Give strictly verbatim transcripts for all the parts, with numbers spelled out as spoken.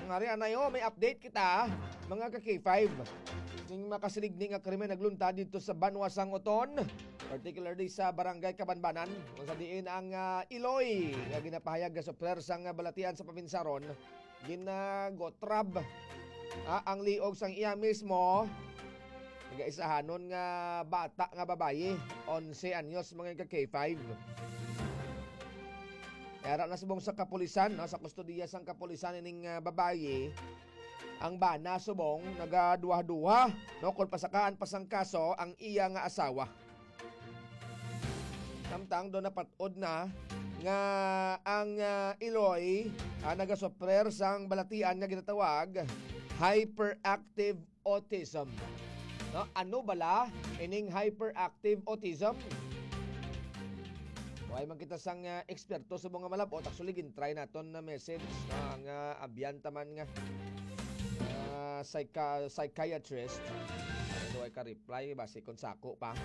Ari, anay, oh, may update kita, mga ka K five. Ning makasiligni nga krimen nagluntad dito sa Banwa sang Oton, particularly sa Barangay Kabanbanan, kung sa diin ang, ah, iloy nga ginapahayag nga supler sang balatian sa paminsaron, ginagotrab, ah, ang liog sang iya mismo nagaisahanon nga bata nga babayi, onse anyos, mga ka K five. Yara na subong sa kapulisan, no, sa kustodiya sang kapulisan ining, ah, babayi, ang bana subong nagaduha-duha, no, kung pasakaan pa sang kaso ang iya nga asawa. Samtang do napat-od na nga ang, ah, iloy, ah, nagasuprer sang balatian nga ginatawag hyperactive autism. No? Ano bala ining hyperactive autism? Wala man kita sang, ah, eksperto sa mga malabot. Actually, gintry naton na message, no? Ang, ah, abyan taman nga, ah, psycha-, psychiatrist. Ano, ay ka-reply, basi kung sako pa.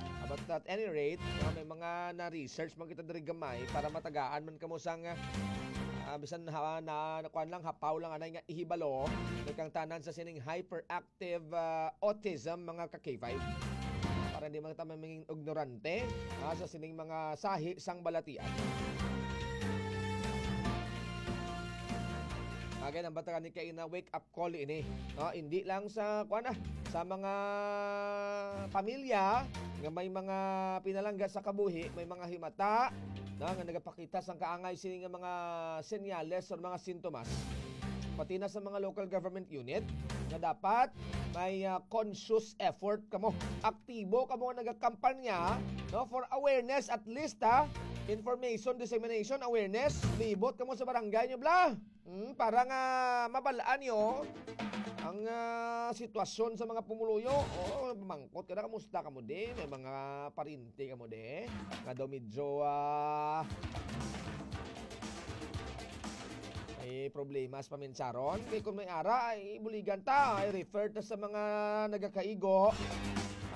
Ah, but at any rate, no, may mga na-research man kita diri gamay para matagaan man kamo sang, ah, bisan ha, na, na, kuwan lang, hapaw lang anay nga ihibalo, kay kang tanan sa sining hyperactive, ah, autism, mga ka K five. Para hindi man ta mamingin ignorante, ah, sa sining mga sahi sang balatian. Bagay nang batagan ni kaina wake up call ini. No, hindi lang sa, kuwan na, sa mga pamilya nga may mga pinalangga sa kabuhi, may mga himata, no, nga nagapakita sang kaangay sini nga mga senyales or mga sintomas. Pati na sa mga local government unit nga dapat may, ah, conscious effort kamo. Aktibo kamo nga nagakampanya, no, for awareness at least, ha. Information dissemination, awareness. Libot kamo sa barangay nyo, bla. Hmm, para nga mabalaan nyo ang, ah, sitwasyon sa mga pumuluyo. O, mangkot ka na, kamusta kamo di? May mga parinti kamo di? Nga daw medyo, ah, may problema sa paminsaron. Kay kung may ara, ay buligan ta, ay refer ta sa mga nagakaigo.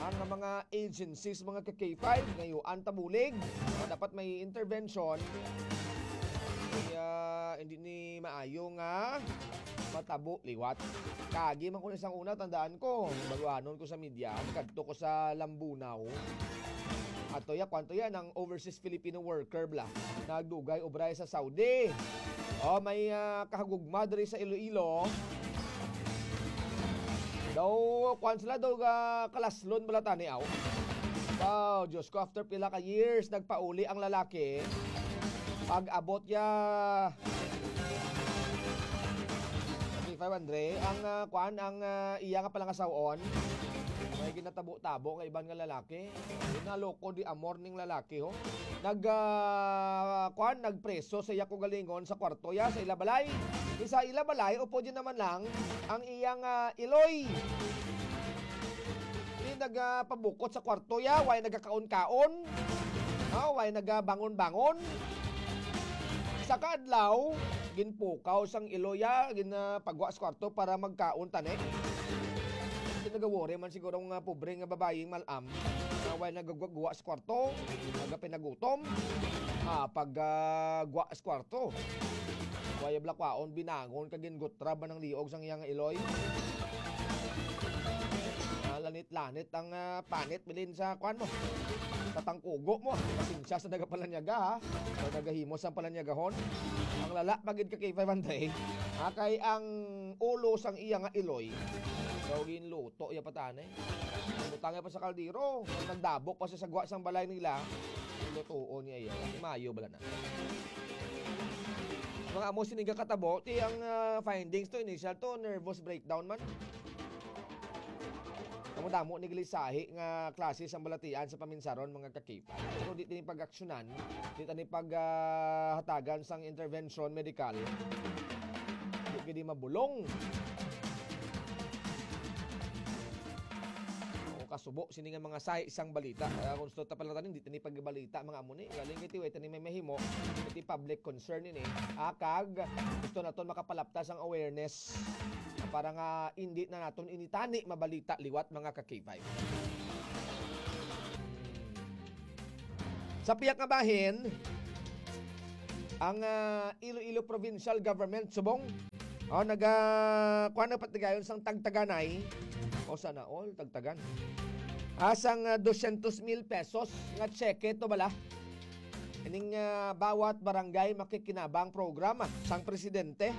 Ang mga agencies, mga ka K five, ngayuan ta bulig. Dapat may intervention. Kaya hindi ni maayo nga matabo liwat. Kagi man ko ni sang una, tandaan ko, baluanon ko sa media, kadto ko sa Lambunaw. Ato ya, kwanto ya, ang overseas Filipino worker bla, nagdugay obra sa Saudi. O, may, ah, kahagugma diri sa Iloilo. Daw, kwan sila, daw, ah, kalaslon bala tani, aw. Wow, Diyos ko, after pila ka years, nagpauli ang lalaki. Pag-abot ya, K five Andre, ang, ah, kwan, ang, ah, iya nga palangasaw-on, may ginatabo-tabo nga iban nga lalaki. Naloko di amor ning lalaki, ho. Nag, ah, kwan, nagpreso sa iya kaugalingon sa kwarto ya, sa ila balay. Di sa ila balay, upod yun naman lang ang iyang, ah, iloy. Di nagapabukot sa kwarto ya, way nagakaon-kaon. Ah, way nagabangon-bangon. Sa kaadlaw, ginpukaw sang iloy ya, ginapagwa sa kwarto para magkaon tani. Di nagawori man siguro nga pobre nga babayi nga mal-am. Nga way nagagwa-gwa sa kwarto, nagapinagutom. Ah, pag, ah, gwa sa kwarto. Way bala kwaon, binangon kag gingutrab man ang liog sang iya nga iloy. Ah, lanit-lanit ang, ah, panit bilin sa kwan mo. Sa tangkugo mo. Pasensya sa nagapalanyaga, ha. Sa nagahimo sang palanyagahon. Ang lala pa gid ka kay five hundred. Ha, kay ang ulo sang iya nga iloy. Daw ginluto iya pa tani. Butang iya pa sa kaldero. Nagdabok pa siya sa gwa sang balay nila. Lutuon niya iya. Mayo bala na. Mga amo sini nga katabo, ti ang, ah, findings to, initial to, nervous breakdown man. Damo-damo ni glisahi nga klase sang balatian sa paminsaron, mga ka-K five. Pero di tani pag-aksyonan, di tani pag, ah, hatagan sang intervention medikal. Di gid mabulong. O kasubo sini nga mga sahi sang balita. Kaya kung gusto ta pala tanin, di tani pagbalita, mga amo ni. Galing kay ti, way tani may mahimo, iti public concern ini. Ah, kag gusto naton makapalapta sang awareness para nga hindi na naton ini tani mabalita liwat, mga ka-K five. Sa pihak nga bahin, ang, ah, Iloilo Provincial Government subong O, naga-, kuwan na patigayon sang tagtaganay. O, sana all, tagtagan. Ah, sang, ah, dosyentos mil pesos nga tseke to bala. Ining, ah, bawat barangay makikinabang program, ah, sang presidente.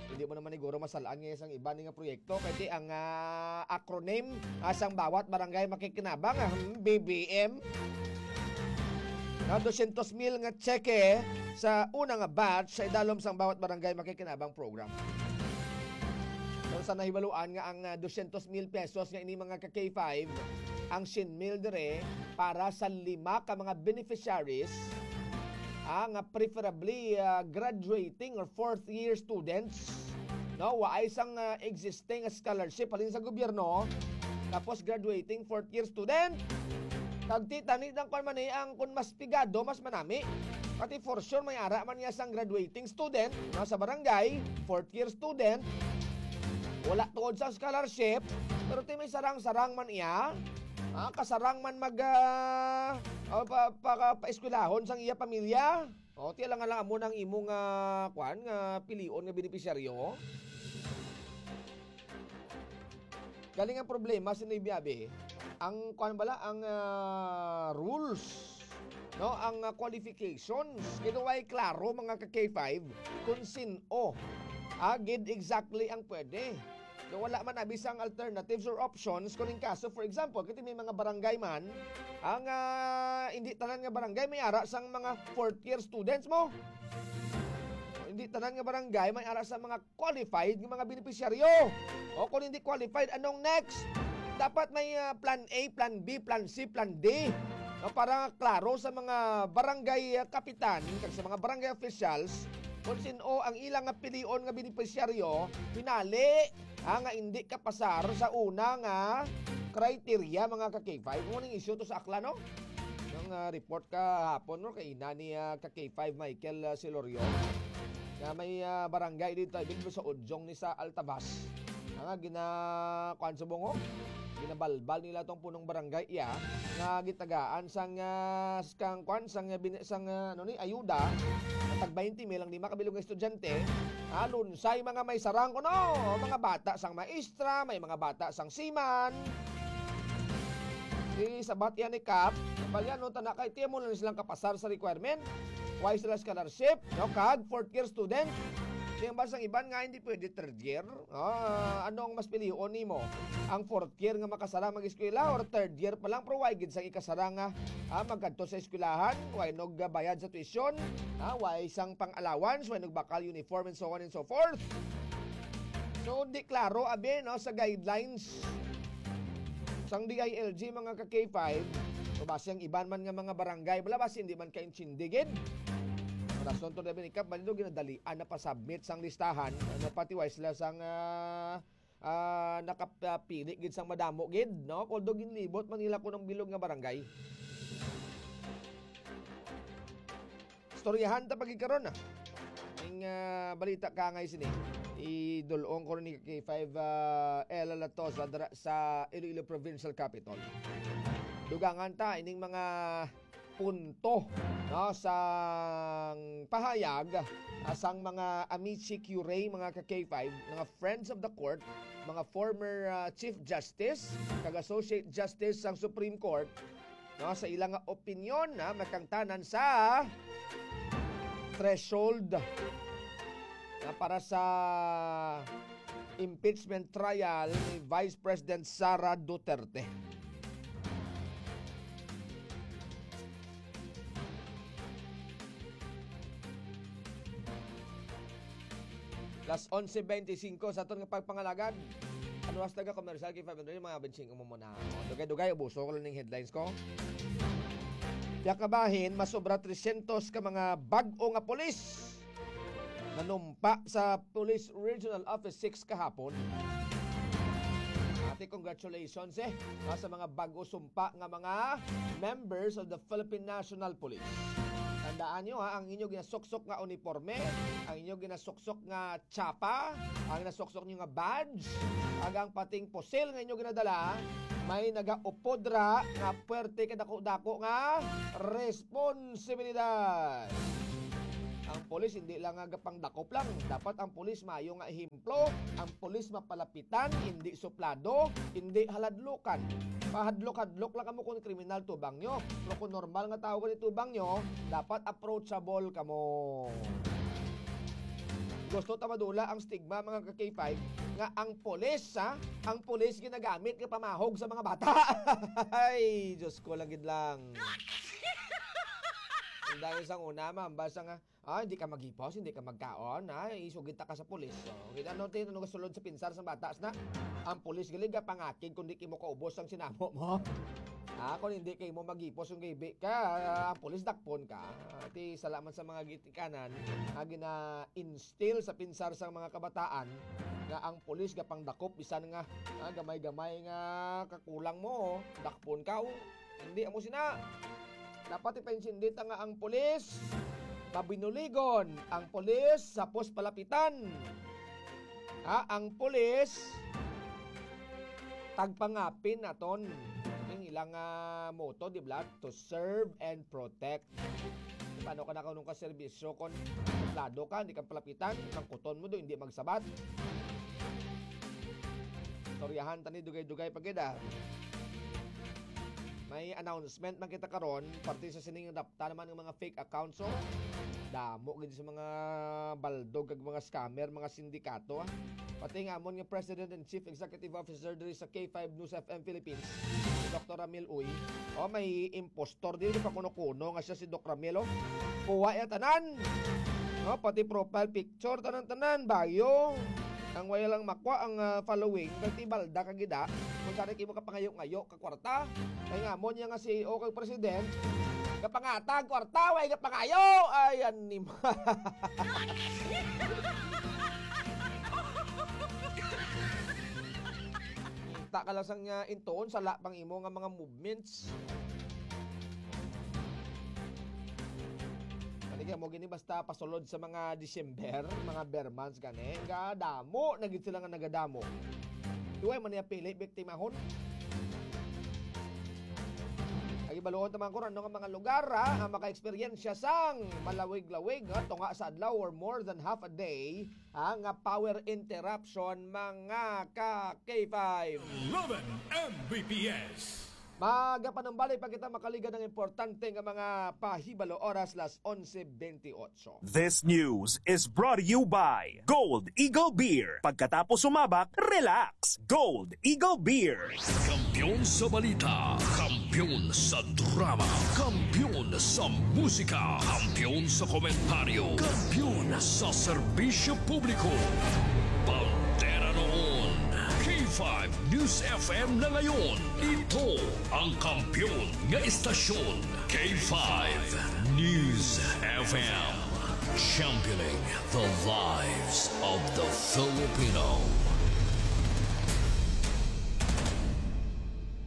Hindi mo naman siguro masalaan nga sang iba ni nga proyekto. Kaya ang, ah, acronym, ah, sang bawat barangay makikinabang, ah, hmm, B B M. Na dosyentos mil nga tseke sa una nga batch sa idalom sang bawat barangay makikinabang program. So, sa nahibaluan nga ang, ah, dosyentos mil pesos nga ini mga ka K five, ang syen mil dire para sa lima ka mga beneficiaries, ah, nga preferably, ah, graduating or fourth year students, no? Waay sang, ah, existing scholarship halin sa gobyerno, tapos graduating fourth year student. Kag ti tani dang kwan man ni ang kun mas pigado, mas manami. Pati for sure may ara man niya sang graduating student, no, sa barangay, fourth year student. Wala tuod sa scholarship, pero ti may sarang-sarang man iya. Ah, kasarang man mag, ah, ah, pa, pa, paeskwelahon sang iya pamilya. O, ti lang lang amo nang imong, ah, kwan, nga pilion nga benepisyaryo. Galing ang problema sa Naybiabe, ang kwan bala, ang, ah, rules, no, ang, ah, qualifications. Kaya way klaro, mga ka K five, kung sin-o, ah, gid exactly ang pwede. Nga wala man abi sang alternatives or options. Kung in kaso, for example, kiti may mga barangay man, ang, ah, hindi tanan nga barangay may ara sang mga fourth year students mo. Hindi tanan nga barangay may ara sa mga qualified nga mga benepisyaryo. O kung hindi qualified, anong next? Dapat may, ah, plan A, plan B, plan C, plan D. No, para klaro sa mga barangay, ah, kapitan kag sa mga barangay officials kung sin-o ang ilang nga pilion nga benepisyaryo, pinali, ah, nga hindi kapasar sa una nga criteria, mga ka K five. Kung anong issue to sa Aklan, no? Yung, ah, report kahapon, no, kay ina ni, ah, ka K five Michael, ah, Silorio, nga may, ah, barangay dito, I believe, sa Udyong ni sa Altavas. Nga gina-, kuwan sa bungo, ginabalbal nila tong punong barangay iya, nga gitagaan sang, ah, kang kwan, sang, ah, bin-, sang, ah, ano ni, ayuda, ang tag twenty mil ang lima ka bilog nga estudyante, ah, lunsay mga may sarang kuno, mga bata sang maestra, may mga bata sang seaman. Di sabat yan ni Kap, balya no, tana kay tiyan mo lang silang kapasar sa requirement. Why sila scholarship? No, kag fourth year student. Di ang basang iban nga hindi pwede third year. Ah, ano ang mas pilion nimo? Ang fourth year nga makasara mag-eskwela or third year pa lang pero way gid sang ikasara nga, ah, magkadto sa eskwelahan, way nagbayad sa tuition, ah, way sang pang-allowance, way nagbakal uniform and so on and so forth. So, di klaro abi, no, sa guidelines sang D I L G, mga ka K five, o basi ang iban man nga mga barangay, wala basi hindi man kaintindi gid. Rason to, David Ikap, bali daw ginadalian na pa-submit sang listahan, ano, pati why sila sang, ah, ah, nakapili gid sang madamo gid, no? Although ginlibot man nila kuno ang bilog nga barangay. Istoryahan ta pagikaron, ah. Ing, ah, balita ka ngay sini. Idulong ko ni K five, ah, Ella Latosa dira sa Iloilo Provincial Capitol. Dugangan ta ining mga punto, no, sang pahayag, ah, sang mga amici curiae, mga ka K five, mga friends of the court, mga former, ah, Chief Justice kag Associate Justice sang Supreme Court, no, sa ila nga opinyon, ha, matangtanan sa threshold, na para sa impeachment trial ni Vice President Sara Duterte. Las onse veinticinco sa aton nga pagpangalagad. Ano, hasta ka commercial kay five hundred, mga bensing mo muna. O, dugay-dugay, ubuso ko lang ning headlines ko. Diya kabahin, masobra tresyentos ka mga bag-o nga pulis nanumpa sa Police Regional Office six kahapon. Ate, congratulations, eh, ah, sa mga bag-o sumpa nga mga members of the Philippine National Police. Tandaan nyo, ha, ang inyo ginasuksok nga uniforme, ang inyo ginasuksok nga tsapa, ang nasuksok nyo nga badge, ag ang pating pusil nga inyo ginadala, may nagaupod ra nga puwerte kadako-dako nga responsibilidad. Ang pulis hindi lang nga gapangdakop lang. Dapat ang pulis maayo nga ehemplo. Ang pulis mapalapitan, hindi suplado, hindi haladlukan. Pahadlok-hadlok lang kamo kung kriminal tubang nyo. Pero kung normal nga tao gani tubang nyo, dapat approachable kamo. Gusto ta madula ang stigma, mga ka-K five, nga ang pulis, ha? Ang pulis ginagamit nga pamahog sa mga bata. Ay, Diyos ko, lang gid lang. Ang dami sang una, ma'am, basta nga, ah, hindi ka maghipos, hindi ka magkaon, ah, isugid ta ka sa pulis. So, kita no, tin-, ano gasulod sa pinsar sa bata, na ang pulis gali gapangakig kung di kimo kaubos ang sinamo mo. Ah, kung hindi kay mo maghipos yung gibi ka, ah, ang pulis dakpon ka. Ah, ti sala man sa mga gitikanan nga gina-instill sa pinsar sa mga kabataan nga ang pulis gapangdakop bisan nga, ah, gamay-gamay nga kakulang mo, dakpon ka, oh. Hindi amo sina. Dapat ipaintindi ta nga ang pulis mabinuligon, ang pulis sapos palapitan. Ha, ang pulis tagpangapin naton. Ang ilang, ah, motto, di ba? To serve and protect. Paano ka nakaunong ka serbisyo kon suplado ka, hindi ka palapitan, mangkuton mo do, hindi magsabat? Istoryahan ta ni dugay-dugay pa gid, ah. May announcement man kita karon, parte sa sining rapta naman ng mga fake accounts, oh. Damo gid sa mga baldog kag mga scammer, mga sindikato, ah. Pati nga amon nga President and Chief Executive Officer diri sa K five News F M Philippines, si Doktor Ramil Uy. Oh, may impostor diri, pa kuno-kuno nga siya si Doc Ramil, oh. Kuha ya tanan. Oh, pati profile picture, tanan-tanan, bayo. Ang wala lang makwa ang, ah, following, kay ti balda ka gid, ah. Kung sana kimo kapangayo-ngayo ka kwarta. Kay nga mo niya nga C E O kag president, kapangatag kwarta, way kapangayo. Ay, anima. Kita ka lang sang, ah, intuon, sala pang imo nga mga movements. Kani kay mo gini basta pasulod sa mga December, mga ber months gani, nga damo na gid sila nga nagadamo. Iway man niya pili biktimahon. Ay, ibaluon ta man kung ano nga mga lugar, ha, ang maka-eksperyensya sang malawig-lawig, ha, tunga sa adlaw or more than half a day, ha, nga power interruption, mga ka K five. Eleven M B P S. Magapanumbalik pa kita makaligad ng importante nga mga pahibalo, oras las onse bentiocho. This news is brought to you by Gold Eagle Beer. Pagkatapos sumabak, relax. Gold Eagle Beer. Kampiyon sa balita, kampiyon sa drama, kampiyon sa musika, kampiyon sa komentaryo, kampiyon sa serbisyo publiko. Bandera noon, K five News F M na ngayon. Ito ang kampiyon nga istasyon, K five News F M. Championing the lives of the Filipino.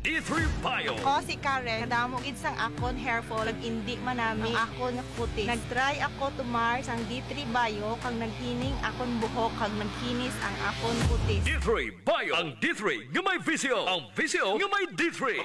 D three Bio. Ako si Karen. Kadamo gid sang akon hair fall, kag indi manami ang akon kutis. Nag-try ako tumar sang D three Bio, kag naghining akon buhok, kag nagkinis ang akon kutis. D three Bio. Ang D three nga may visyo. Ang visyo nga may D three.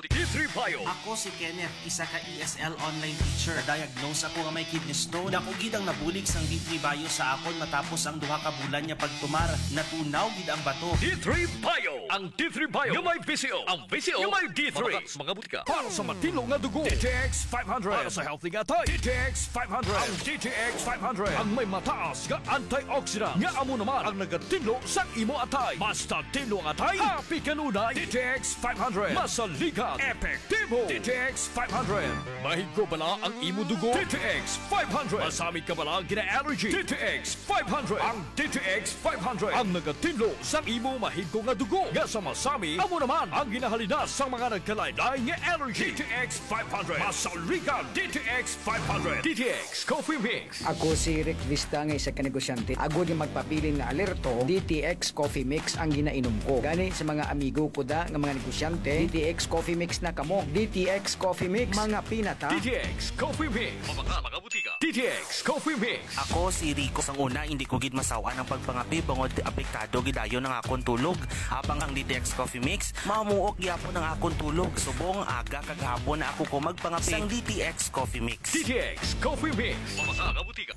D three Bio. Ako si Kenneth, isa ka E S L online teacher. Na-diagnose ako nga may kidney stone. Dako gid ang nabulig sang D three Bio sa akon matapos ang duha ka bulan nga pagtumar. Natunaw gid ang bato. D three Bio. Ang D three Bio nga may visyo. Ang visyo nga may D three. Mabakal sa mga butika. Para sa matinlo nga dugo, D T X five hundred. Para sa healthy nga atay, D T X five hundred. Ang D T X five hundred ang may mataas nga antioxidant, nga amo naman ang nagatinlo sa imo atay. Basta tinlo ang atay, happy kanunay. D T X five hundred. Masaligan, epektibo. D T X five hundred. Mahigko bala ang imo dugo? D T X five hundred. Masami ka bala gina-allergy? D T X five hundred. Ang D T X five hundred ang nagatinlo sa imo mahigko nga dugo nga sa masami, amo naman ang ginahalinas sa mga nagkalain-lain nga allergy. D T X five hundred. Masaligan, D T X five hundred. D T X Coffee Mix. Ako si Rick Vista nga isa ka negosyante. Agod nga magpabilin nga alerto, D T X Coffee Mix ang ginainom ko. Gani sa mga amigo ko da nga mga negosyante, D T X Coffee Mix na kamo. D T X Coffee Mix, mga pinata. D T X Coffee Mix. Mabakal sa mga butika. D T X Coffee Mix. Ako si Rico. Sang una, hindi ko gid masaw-an ang pagpangape bangod apektado gid dayon ang akon tulog. Habang ang D T X Coffee Mix, mamuok gyapon Ang akon tulog, subong aga kag hapon na ako ko magpangapit sang D T X Coffee Mix. D T X Coffee Mix. Mabasa nga butika.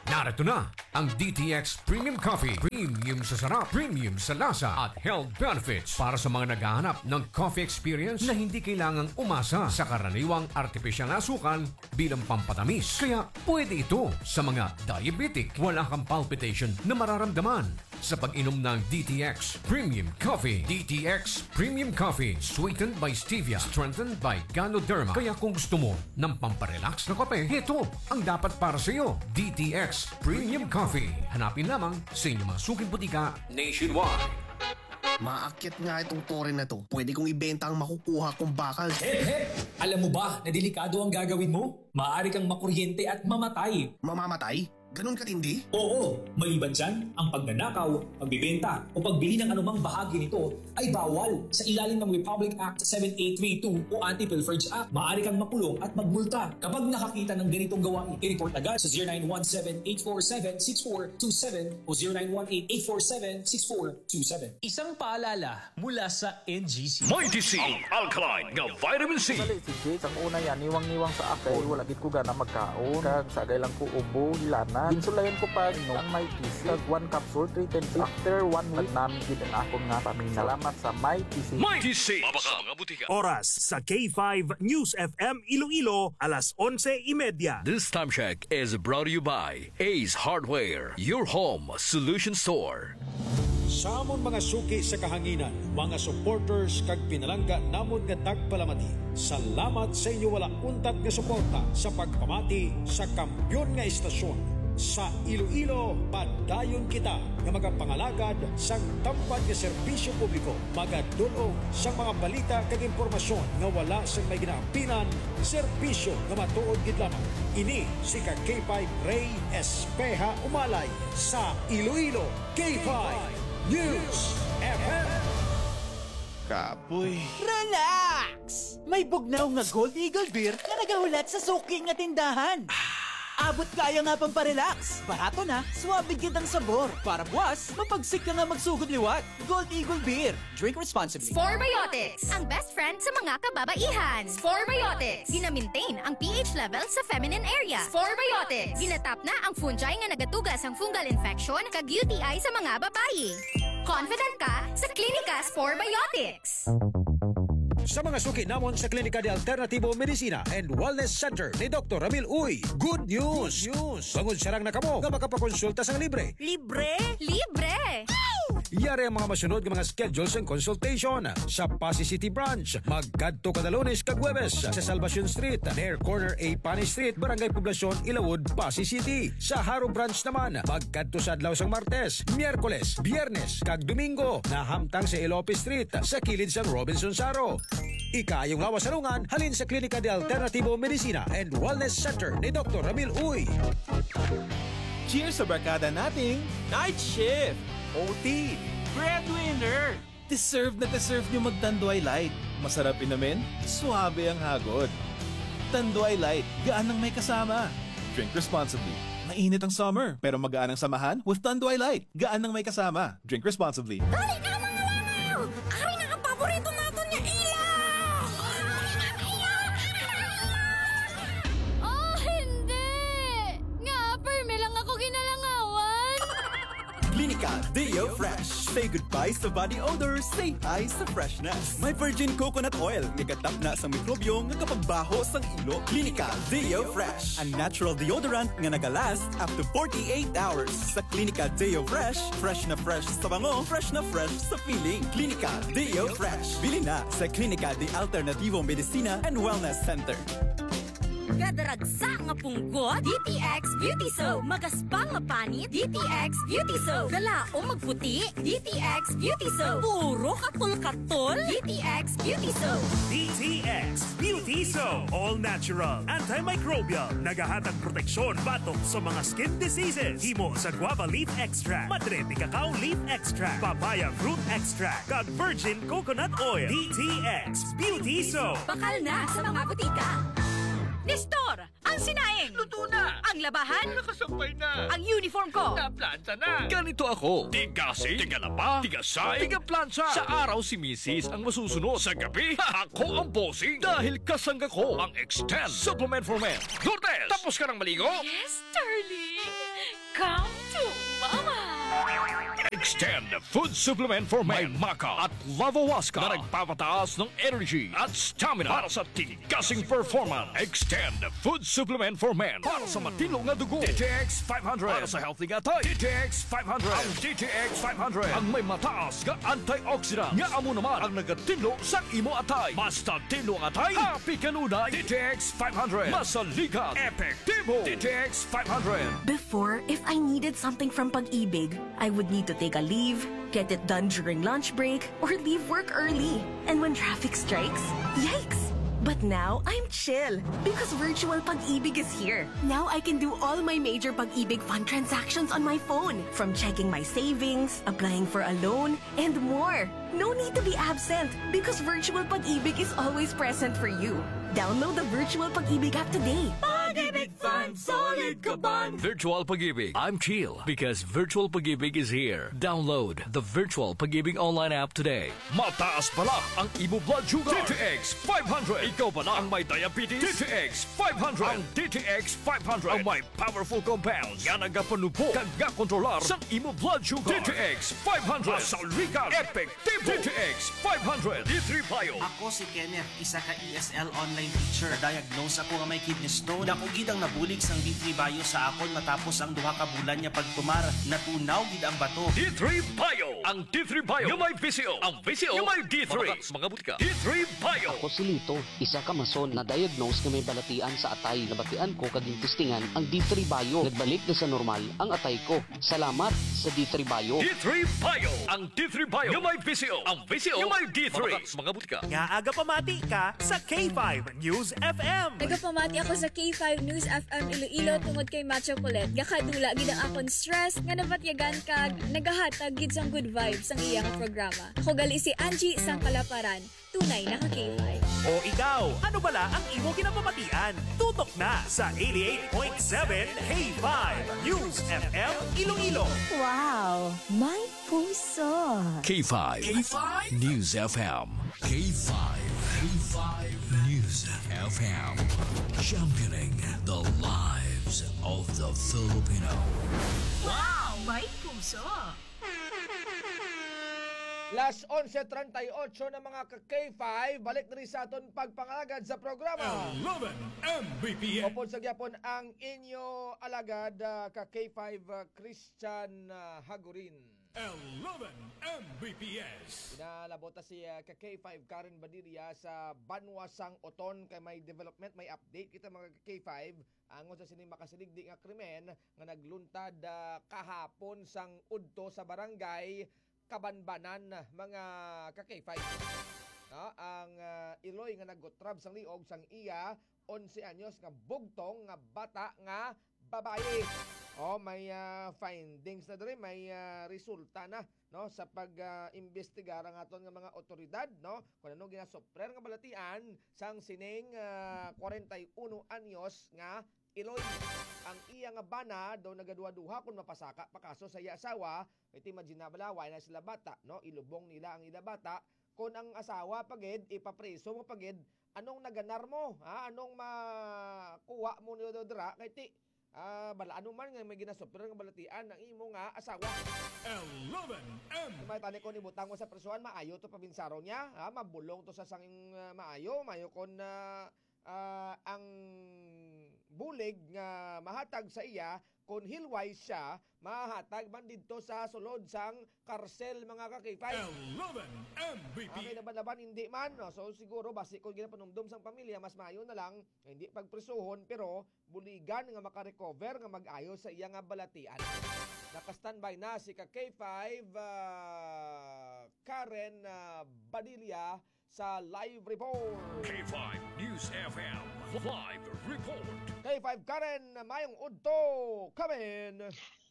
Narito na ang D T X Premium Coffee. Premium sa sarap, premium sa lasa, at health benefits para sa mga naghahanap ng coffee experience na hindi kailangang umasa sa karaniwang artificial na asukal bilang pampatamis. Kaya pwede ito sa mga diabetic. Wala kang palpitation na mararamdaman sa pag-inom ng D T X Premium Coffee. D T X Premium Coffee, sweetened by stevia, strengthened by Ganoderma. Kaya kung gusto mo ng pamparelax na kape, ito ang dapat para sa iyo. D T X Premium Coffee. Hanapin lamang sa inyong mga suking butika nationwide. Maakyat nga itong tore na to. Pwede kong ibenta ang makukuha kong bakal. Hep, hep! Alam mo ba na delikado ang gagawin mo? Maaari kang makuryente at mamatay. Mamamatay? Ganun katindi? Oo, maliban dyan, ang pagnanakaw, pagbibenta, o pagbili ng anumang bahagi nito ay bawal sa ilalim ng Republic Act seven eight three two o Anti-Pilferage Act. Maaari kang makulong at magmulta kapag nakakita ng ganitong gawain. I-report agad sa zero nine one seven eight four seven six four two seven o zero nine one eight eight four seven six four two seven. Isang paalala mula sa N G C. Mighty C, ang alkaline nga vitamin C. Sali si Jade, ang una yan, niwang-niwang sa akon. Wala gid ko gana magkaon. Kag sagay lang ko ubo, hilanat. Ginsulayan ko pa, no, ang Mighty C. Kag one capsule, three times. After one week, nami gid ang akon nga pamina. Salamat sa Mighty C. Mighty C. Mabaka mga butika. Oras sa K five News F M Iloilo, alas onse y media. This time check is brought to you by Ace Hardware, your home solution store. Sa amon mga suki sa kahanginan, mga supporters kag pinalangga namon nga tagpalamati, salamat sa inyo wala untat nga suporta sa pagpamati sa kampiyon nga istasyon. Sa Iloilo, padayon kita nga magapangalagad sang tampad nga serbisyo publiko, magadul-ong sang mga balita kag impormasyon nga wala sang may ginaampinan, serbisyo nga matuod gid lamang. Ini si ka K five Rey Espeha Umalay sa Iloilo, K five News F M. Kapoy. Relax! May bugnaw nga Gold Eagle Beer nga nagahulat sa suki nga tindahan. Abot kaya nga pamparelax. Barato na, suabe gid ang sabor. Para buwas, mapagsik ka nga magsugod liwat. Gold Eagle Beer. Drink responsibly. Spore Biotics, ang best friend sa mga kababaihan. Spore Biotics, gina-maintain ang P H level sa feminine area. Spore Biotics, ginatap na ang fungi nga nagatuga sang fungal infection kag U T I sa mga babayi. Confident ka sa Klinika Spore Biotics. Sa mga suki namon sa Klinika de Alternativo Medicina and Wellness Center ni Doktor Ramil Uy, good news! Good news! Bangod sarang na kamo nga makapakonsulta sang libre. Libre? Libre! Yari ang mga masunod nga mga schedule sang consultation. Sa Passi City Branch, magkadto kada Lunes kag Huwebes sa Salvacion Street, near corner A Pani Street, Barangay Poblacion, Ilawod, Passi City. Sa Jaro Branch naman, magkadto sa adlaw sang Martes, Miyerkules, Biyernes, kag Domingo, nahamtang sa Elope Street, sa kilid sang Robinson Jaro. Ikaayong lawas sa lungan, halin sa Klinika de Alternativo Medicina and Wellness Center ni Doktor Ramil Uy. Cheers sa barkada nating night shift, O T, breadwinner. Deserve na deserve nyo mag-Tanduay Light. Masarap inumin, suabe ang hagod. Tanduay Light, gaan ang may kasama. Drink responsibly. Mainit ang summer, pero magaan ang samahan with Tanduay Light. Gaan ang may kasama. Drink responsibly. Dali na, mga langaw! Ari na ang paborito naton nga ilaw! Oh, hindi! Nga, permi lang ako ginalangawan! Klinika Deo Fresh. Say goodbye sa body odor, say hi sa freshness. May virgin coconut oil nga gatapna sang mikrobyo nga kapagbaho sang ilo. Klinika Deo Fresh, a natural deodorant nga nagalast up to forty-eight hours. Sa Klinika Deo Fresh, fresh na fresh sa bango, fresh na fresh sa feeling. Klinika Deo Fresh. Bili na sa Klinika de Alternativo Medicina and Wellness Center. Kadaragsa nga punggot, D T X Beauty Soap. Magaspang nga panit, D T X Beauty Soap. Galaom magputi, D T X Beauty Soap. Puro katol-katol, D T X Beauty Soap. D T X Beauty Soap. All natural, antimicrobial. Nagahatag proteksyon batok sa mga skin diseases. Himo sa guava leaf extract, madre de cacao leaf extract, papaya fruit extract, kag virgin coconut oil. D T X Beauty Soap. Bakal na sa mga butika. Nestor, Ang sinaing. Luto na. Ang labahan. Nakasampay na. Ang uniform ko. Naplanta na. Ganito ako. Tigasing, tigalaba, tigasay, tigaplantsa. Sa araw si misis ang masusunod. Sa gabi, ako ang bossing. Dahil kasangga ko ang Extend Supplement for Men. Lourdes, tapos ka ng maligo? Yes, darling. Come to Mama. Extend Food Supplement for Men. May maca at lavawaska na nagpapataas ng energy at stamina para sa tigasing performance. Extend Food Supplement for Men para sa matinlo nga dugo. D T X five hundred para sa healthy nga atay. D T X five hundred. Ang D T X five hundred ang may mataas nga antioxidant nga amo naman ang nagatinlo sa imo atay. Mas tinlo ang atay, happy kanunay. D T X five hundred. Masaligan, epektibo. D T X five hundred. Before, if I needed something from Pag-ibig, I would need to take a leave, get it done during lunch break, or leave work early. And when traffic strikes, yikes! But now, I'm chill because Virtual Pag-ibig is here. Now I can do all my major Pag-ibig Fund transactions on my phone, from checking my savings, applying for a loan, and more. No need to be absent because Virtual Pag-ibig is always present for you. Download the Virtual Pag-ibig app today. Pag-ibig Fund, solid ka bond. Virtual Pag-ibig, I'm chill because Virtual Pag-ibig is here. Download the Virtual Pag-ibig online app today. Mataas bala ang imo blood sugar? D T X five hundred. Ikaw bala ang may diabetes? D T X five hundred. Ang D T X five hundred ang may powerful compounds nga nagapanubho kag gakontrolar sang imo blood sugar. D T X five hundred. Masaligan, epektibo. D T X five hundred. D three Bio. Ako si Kenneth, isa ka E S L online teacher. Na-diagnose ako nga may kidney stone. Dako gid ang nabulig sang D three Bio sa akon matapos ang duha ka bulan nga pagtumar. Natunaw gid ang bato. D three Bio. Ang D three Bio nga may V C O. Ang V C O nga may D three. Mabakal sa mga butika. D three Bio. Ako si Lito, isa ka mason na-diagnose nga may balatian sa atay. Nabatian ko kag gintistingan ang D three Bio. Nagbalik na sa normal ang atay ko. Salamat sa D three Bio. D three Bio. Ang D three Bio nga may V C O. Ang V C O nga may D three. Mabakal sa mga butika. Ngaa gapamati ka sa K five News F M? Nagapamati ako sa K five News F M Iloilo tungod kay Macho Colette. Gakadula gid ang akon stress nga nabatyagan kag nagahatag gid sang good vibes ang iya nga programa. Ako gali si Angie sang Kalaparan. Tunay na ka K five. O ikaw, ano bala ang imo ginapamatian? Tutok na sa eighty-eight point seven K five News F M Iloilo. Wow, may puso. K five K five News F M. K five K five News F M. Championing the lives of the Filipino. Wow, may puso. Las onse treinta y ocho na, mga ka K five, balik diri sa aton pagpangalagad sa programa. Eleven M B P S. Upod sa gyapon ang inyo alagad, ah, ka K five, ah, Christian, ah, Hagurin. Eleven M B P S. Pinalabot na si, ah, ka K five Karen Badilla sa banwa sang Oton kay may development, may update kita, mga ka K five. Angon sa sining makasaligdi nga krimen nga nagluntad, ah, kahapon sang udto sa barangay Kabanbanan, mga ka K five. No, ang, ah, iloy nga naggutrab sang liog sang iya onse anyos nga bugtong nga bata nga babayi. Oh, may, ah, findings na diri, may, ah, resulta na, no, sa pag, ah, imbestigar ang aton nga mga otoridad, no, kung ano ginasuprer nga balatian sang sining, ah, kwarenta y uno anyos nga iloy. Ang iya nga bana daw nagaduha-duha kon mapasaka pa kaso sa iya asawa. Kay imagine na bala, wala na sila bata, no? Ilubong nila ang ila bata. Kon ang asawa pa gid, ipapriso mo pa gid, anong naganar mo, ha? Anong makuha mo niyo dira? Kay ti, ah, bala, ano man nga may ginasuprir nga balatian ang imo nga asawa. Eleven M. May tani ko ni butang mo sa prisuhan, maayo to pabinsaron niya, ha? Mabulong to sa sang, ah, maayo, maayo kon, ah, ah, ang bulig nga mahatag sa iya, kon hilway siya, mahatag man didto sa sulod sang karsel, mga ka-K five. Eleven M B P. Okay, laban-laban, hindi man. No? So, siguro, basi kung ginapanumdom sang pamilya, mas maayo na lang, hindi pagprisuhon, pero buligan nga makarecover, nga mag-ayo sa iya nga balatian. Naka-standby na si ka K five, ah, Karen, ah, Badilla sa live report. K five News F M live report. K five Karen, mayong udto, Karen.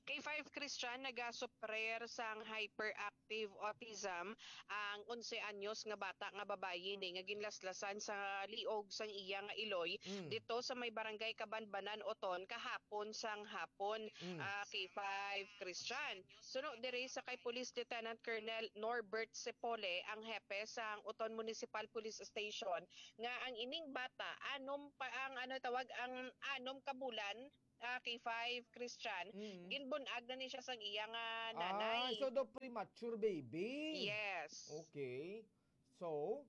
K five Christian nagasuprer sang hyperactive autism ang onse anyos nga bata nga babayi ni nga ginlaslasan sa liog sang iya nga iloy Mm. dito sa may barangay Kabanbanan, Oton, kahapon sang hapon, Mm. ah, K five Christian. Suno diri sa kay Police Lieutenant Colonel Norbert Sepole, ang hepe sang Oton Municipal Police Station, nga ang ining bata, anom pa ang, ano tawag, ang anom ka bulan, ah, K five Christian, Mm. ginbunag na ni siya sang iya nga nanay. Ay, so daw premature baby? Yes. Okay. So,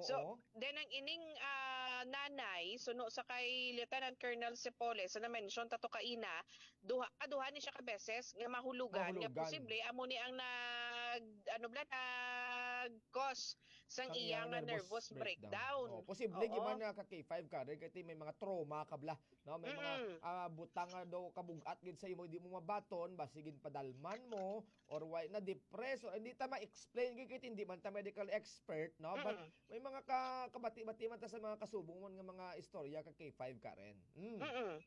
So, oo. then ang ining, ah, nanay, suno sa kay Lieutenant Colonel Sepole, sa na-mention tato kaina, duha, kaduha ni siya ka beses nga mahulugan, nga Mahulugan. posible amo ni ang nag, ano bala, nag-cause sang Sang iya iyang nga nervous nervous breakdown. breakdown. Oh, posible Oo. gyud man nga ka K five ka, dahil kay may mga trauma ka bala, no? May mga, Mm-mm. ah, butang nga daw kabug-at gid sa imo, di mo mabaton, basi ginpadalman mo, or why na-depress, or hindi ta ma-explain gid kay hindi man ta medical expert, no? But Mm-mm. may mga ka-, kabati-bati man ta sa mga kasubong man nga mga istorya ka K five, Karen. Mm. Mm-mm.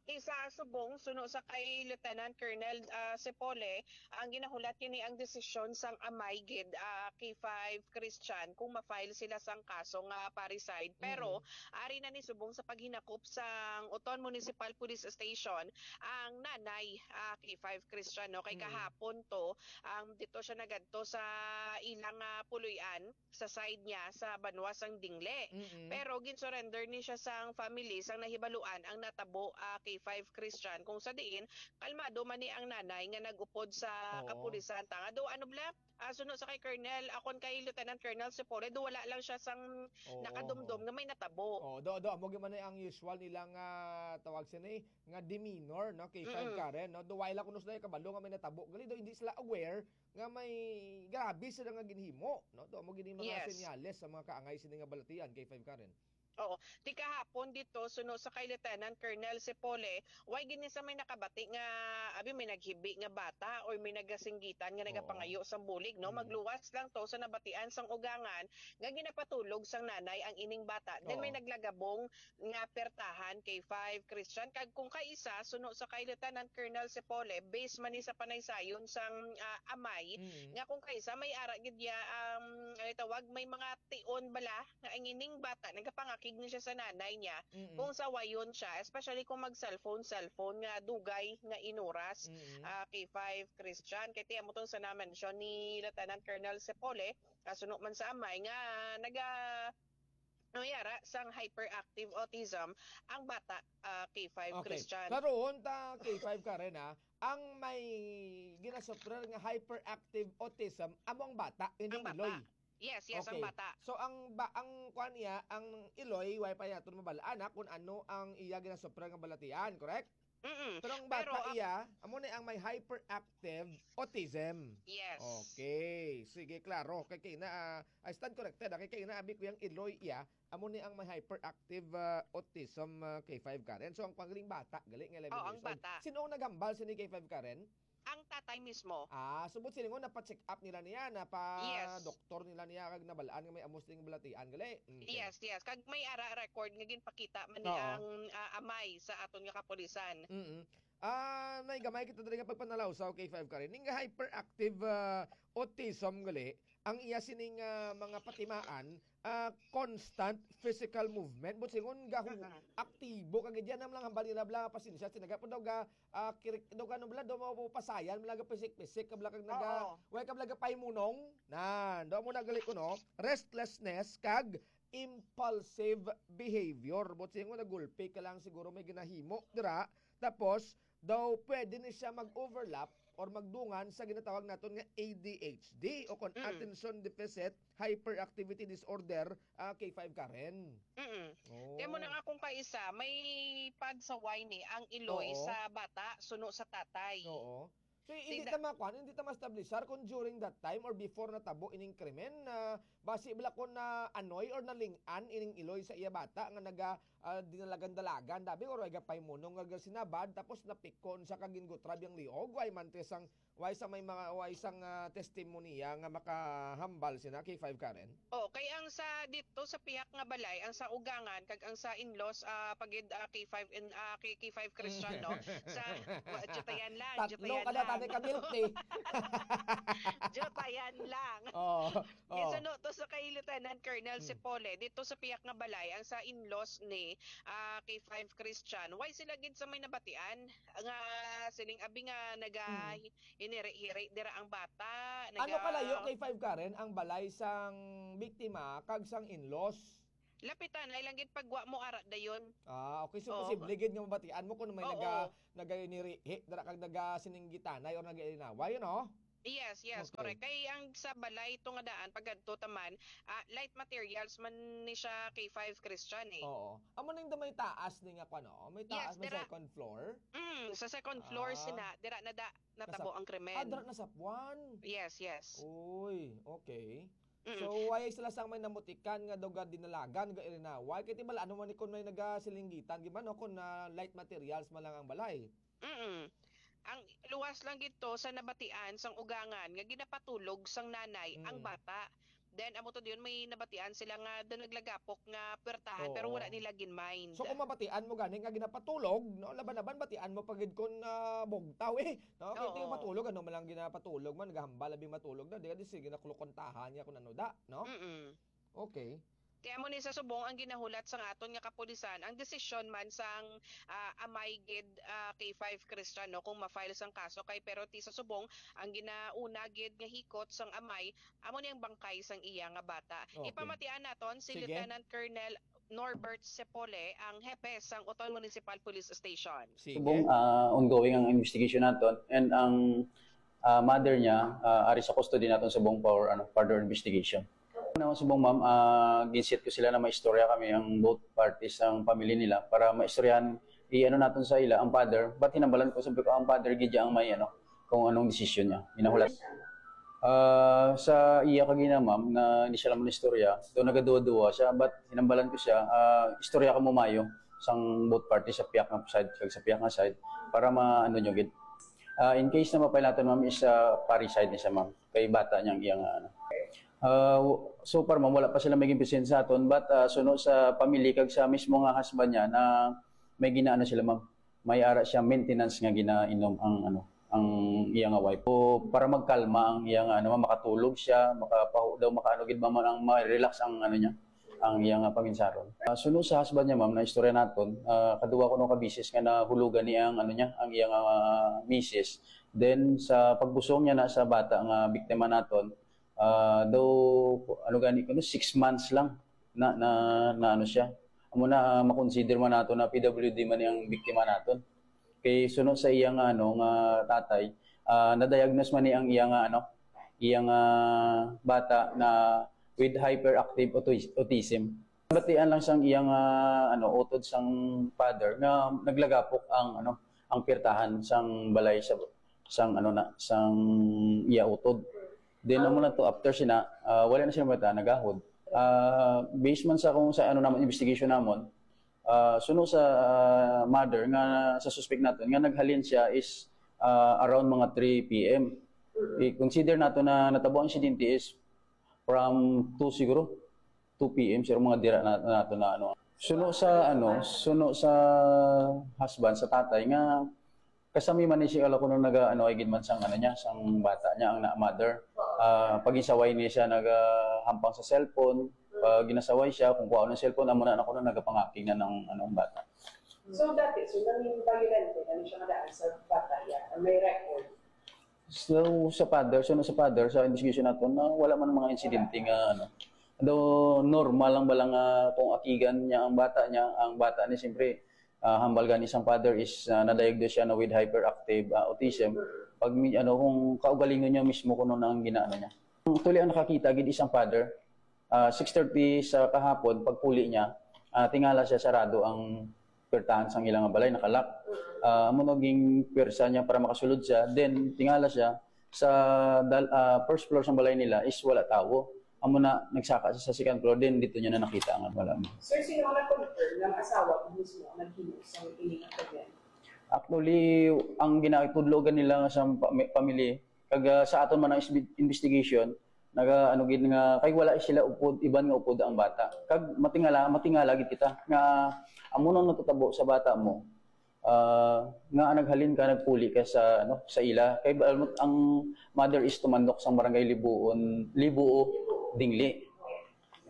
Isa subong, suno sa kay Lieutenant Colonel, ah, Sepole, ang ginahulat kini ang desisyon sang amay gid, ah, K five Christian kung ma-file sila sang kaso nga parricide. Pero Mm-mm. ari na ni subong sa paghinakop sang Oton Municipal Police Station ang nanay, ah, K five Christian, no? Kay Mm. kahapon to, ang dito siya nagadto sa ilang, ah, puloy-an sa side niya sa banwa sang Dingle. Mm-mm. Pero gin-surrender ni siya sang family sang nahibaluan ang natabo, ah, K five Christian, kung sa diin kalmado man ni ang nanay nga nag-upod sa Oo. kapulisan. Tanga do, ano bala? Ah, suno sa kay Colonel, akon kay Lieutenant Colonel Sepole, do wala lang siya sang Oo. nakadumdom nga may natabo. Oh, do, do, amo gyud man ang usual nila nga tawag sini nga demeanor, no, K five Mm-mm. Karen, no? Do wala kuno sila kabalo nga may natabo. Gali do, hindi sila aware nga may grabe sila nga ginhimo, no? To amo gid mga Yes. senyales sa mga kaangay sini nga balatian, K five Karen. Oo. Ti kahapon dito, suno sa kay Lieutenant Colonel Sepole, way gini sa may nakabati nga, abi, may naghibi nga bata or may nagasinggitan nga Oo. nagapangayo sa bulig, no? Mm. Magluwas lang to sa nabatian sang ugangan nga ginapatulog sang nanay ang ining bata. Then may Oo. naglagabong nga pertahan, K five Christian. Kag kung kaisa, suno sa kay Lieutenant Colonel Sepole, base man ni sa panaysayon sang, ah, amay, Mm. nga kung kaisa may ara gid ya, um, ano tawag, may mga tion bala nga ang ining bata, nagapangakig ni siya sa nanay niya, Mm. kung sawayon siya, especially kung mag-cellphone, cellphone nga dugay nga inuras, Mm. ah, K five Christian. Kay ti amo tong sa na-mention ni Lieutenant Colonel Sepole, ah, suno man sa amay nga naga-, ano yara, sang hyperactive autism ang bata, ah, K five Okay. Christian. Karon ta, K five Karen, ha, ang may ginasuffer nga hyperactive autism amo ang bata, hindi Ang ang bata. iloy. Yes, yes, ang Okay. bata. So, ang ba-, ang kuan niya, ang iloy, way pa naton mabalaan na kung ano ang iya ginasuffer nga balatian, correct? Mm-mm. Pero ang Pero bata ang iya, amo na ang may hyperactive autism. Yes. Okay. Sige, klaro. Kay, kay na, ah, I stand corrected, ah. Kay, kay na, abi ko yung iloy iya, amo ni ang may hyperactive, ah, autism, ah, K five Karen. So, ang pangling bata, gali nga Oh, ang eleven years old. bata. Sino ang naghambal sa ni K five Karen? Ang tatay mismo. Ah, subot sila nga napa-check up nila niya, napa Yes. doktor nila niya, kag nabalaan nga may amos ding balatian, gali? Okay. Yes, yes. Kag may ara record nga ginpakita man ni Oo. ang, ah, amay sa aton nga kapulisan. Mm-mm. Ah, may gamay kita diri nga pagpanalaw sa K five Karen. Ning hyperactive, ah, autism gali, ang iya sining, ah, mga patimaan, ah, constant physical movement. But singon gahu-, Mm-mm. aktibo ka gid yan, ang lang hambal nila bala, pasensya, sinaga po daw ga, ah, kirik, daw ka, ano bala, daw mapapasayan, bala ga pisik-pisik, ka bala kag naga, Oo. way ka bala ga paimunong. Nan, daw mo na gali ko, no? Restlessness kag impulsive behavior. But singon nagulpi ka lang, siguro may ginahimo dira. Tapos, daw pwede ni siya mag-overlap or magdungan sa ginatawag naton nga A D H D o kon Mm. attention deficit hyperactivity disorder, ah, K five Karen. Mm-mm. Oh. Kaya mo na nga kung kaisa, may pagsaway ni ang iloy Oo. sa bata, suno sa tatay. Oo. So, hindi Tigda- ta makuan, hindi ta ma-establishar kung during that time or before natabo ining krimen, na basi bala kung na-annoy or naling-an ining iloy sa iya bata nga naga, ah, dinalagan-dalagan, dabi, or ay gapahimunong nga sinabad, tapos napikon sa kagin gutrab yang liog, way man te sang, way sa may mga, way sang, ah, testimonya nga makahambal sina K five Karen? Oh, kay ang sa dito sa pihak nga balay, ang sa ugangan kag ang sa in-laws, ah, pagid, ah, K five in, ah, K-, K five Christian, no? Sa, wa-, jutayan lang, Tatlo jutayan ka na, lang. Tani ka milk tea. Jutayan lang. Oo. Oh. Gisuno to sa kay Lieutenant Colonel Hmm. Sipole, dito sa pihak nga balay, ang sa in-laws ni, ah, K five Christian, why sila gid sa may nabatian nga siling abi nga naga Hmm. hi-, hiniri-hiri dira ang bata, Ano naga kalayo, K five Karen, ang balay sang biktima kag sang in-laws? Lapitan, ay lang gid pagwa mo ara dayon. Ah, okay. So, Oo. posible gid nga mabatian mo kung may Oo. naga-, naga-inirihi dira kag naga-sininggitanay or naga-inaway, you know? Yes, yes, Okay. correct. Kay ang sa balay to nga daan, pagkadto ta man, ah, light materials man ni siya K five Christian eh. Oo. Amo nang may taas ni nga kwan, oh. May Yes, taas, may dira. second floor. Mm, sa second floor Ah. sina, dira na da, natabo Nasap-, ang krimen. ah, dira nasapwan. Yes, yes. Uy, okay. Mm. So, why sila sang may namutikan nga daw ga dinalagan, ga irinaway? Kay ti bala, ano man ni kung may nagasilinggitan, di ba, no? Kung na light materials man lang ang balay. Mm. Ang luwas lang gid to sa nabatian sang ugangan nga ginapatulog sang nanay ang Mm. bata. Then, amo to diyon, may nabatian sila nga daw naglagapok nga puwertahan, pero wala Oo. nila gin-mind. So, kung mabatian mo gani nga ginapatulog, no, laban-laban, batian mo pa gid kung, ah, bugtaw, eh, no? Kay ti Oo. matulog, ano man lang ginapatulog man, nagahambal, abi matulog na, di ka di sige na kulukontahan niya kung ano da, no? Mm. Okay. Kaya mo ni sa subong ang ginahulat sang aton nga kapulisan, ang desisyon man sang, ah, amay gid, ah, K five Christian, no, kung ma-file sang kaso kay, pero ti sa subong ang ginauna gid nga hikot sang amay, amo ni ang bangkay sang iya nga bata. Okay. Ipamatian naton si Sige. Lieutenant Colonel Norbert Sepole, ang hepe sang Oton Municipal Police Station. Sige. Subong, ah, ongoing ang investigation naton and ang, ah, mother niya, ah, ari sa custody naton subong for, ano, further investigation. Ano, subong, ma'am, ah, ginsit ko sila na maistorya kami ang both parties, ang family nila, para maistoryahan, i-ano naton sa ila ang father. But hinambalan ko, sabi ko, ang father gid ang may, ano, kung anong desisyon niya. Ginahulat. Ah, sa iya kagina, ma'am, na hindi siya naman istorya, do nagaduwa-duwa siya, but hinambalan ko siya, ah, istorya ka mo mayo sang both parties, sa piyak nga side kag sa piyak nga side, para ma-, ano nyo gid. Ah, in case na mapailaton, ma'am, is, ah, parricide ni siya, ma'am. Kay bata niyang iya nga, ano. Ah, w-, so far, ma'am, wala pa sila may ginpresent sa aton, but, ah, suno sa family kag sa mismo nga husband niya na may ginaano sila, ma'am. May ara siya maintenance nga ginainom ang, ano, ang iya nga wife. So, para magkalma ang iya nga, ano, ma'am, makatulog siya, makapahu-, daw makaano gid, ma'am, ang ma-relax ang, ano niya, ang iya nga paminsaron. Ah, suno sa husband niya, ma'am, na istorya naton, ah, kaduwa kuno ka beses nga nahulugan niya ang, ano niya, ang iya nga, ah, misis. Then, sa pagbusong niya na sa bata nga biktima naton, ah, daw, ano gani kuno, six months lang na, na, na ano siya. Amo na, ah, makonsider man nato na P W D man ang biktima naton. Kay suno sa iya nga, ano, nga tatay, ah, na-diagnose man ni ang iya nga, ano, iya nga bata na with hyperactive autis-, autism. Batian lang sang iya nga, ano, utod sang father nga naglagapok ang, ano, ang pirtahan sang balay sa, sang, ano na, sang iya utod. Then, amo na to, after sina, ah, wala na siya mata, nagahod. Ah, based man sa kung sa, ano, naman, investigation namon, ah, suno sa, ah, mother nga sa suspect naton nga naghalin siya is, ah, around mga three P M. I-consider nato na natabo ang insidente is from two siguro, two P M, siguro mga dira na, na, na, na, ano. Suno sa, ano, suno sa husband, sa tatay, nga kasami man ni siya, ala kuno naga, ano, ay gid man sang, ano niya, sang bata niya, ang na, mother. Ah, pagisaway niya siya, naga, hampang sa cellphone. Pag ginasaway siya, kung kuha ng cellphone, amo na, ano, kuno nagapangaking na ng, ano, ang bata. So, dati, so, nangin violent, ano siya nga daan sa bata, yeah, may record. So, sa father, so, sa father, sa investigation nato, na wala man mga insidente nga, ano, daw normal lang ba lang, ah, kung akigan niya ang bata niya, ang bata ni, siyempre, ah, hambal gani sang father is, ah, na-diagnose siya na with hyperactive, ah, autism. Pag mi-, ano, kung kaugalingon niya mismo kuno na ang ginaano niya. Actually, ang nakakita gid isang father, ah, six thirty sa kahapon, pagpuli niya, ah, tingala siya sarado ang pertahan sang ilang balay, nakalak. Ah, amo naging pwersa niya para makasulod siya. Then, tingala siya sa dal-, ah, first floor sang balay nila is wala tawo. Amo na, nagsaka siya sa second floor, then dito niya na nakita nga wala mo. Sir, sino ang nag-confirm ng asawa ko mismo ang naghinos sa ining krimen? Actually, ang ginatudlogan nila sa pami- family, kag ah, sa aton man ang isbi- investigation, naga ano gid nga kay wala sila upod, iban nga upod ang bata. Kag matingala, matingala gid kita nga amo nang natutabo sa bata mo. Ah, nga naghalin ka, nagpuli ka sa ano, sa ila. Kay ba- ang mother is tumandok sang barangay Libuon, Libuo, Dingli.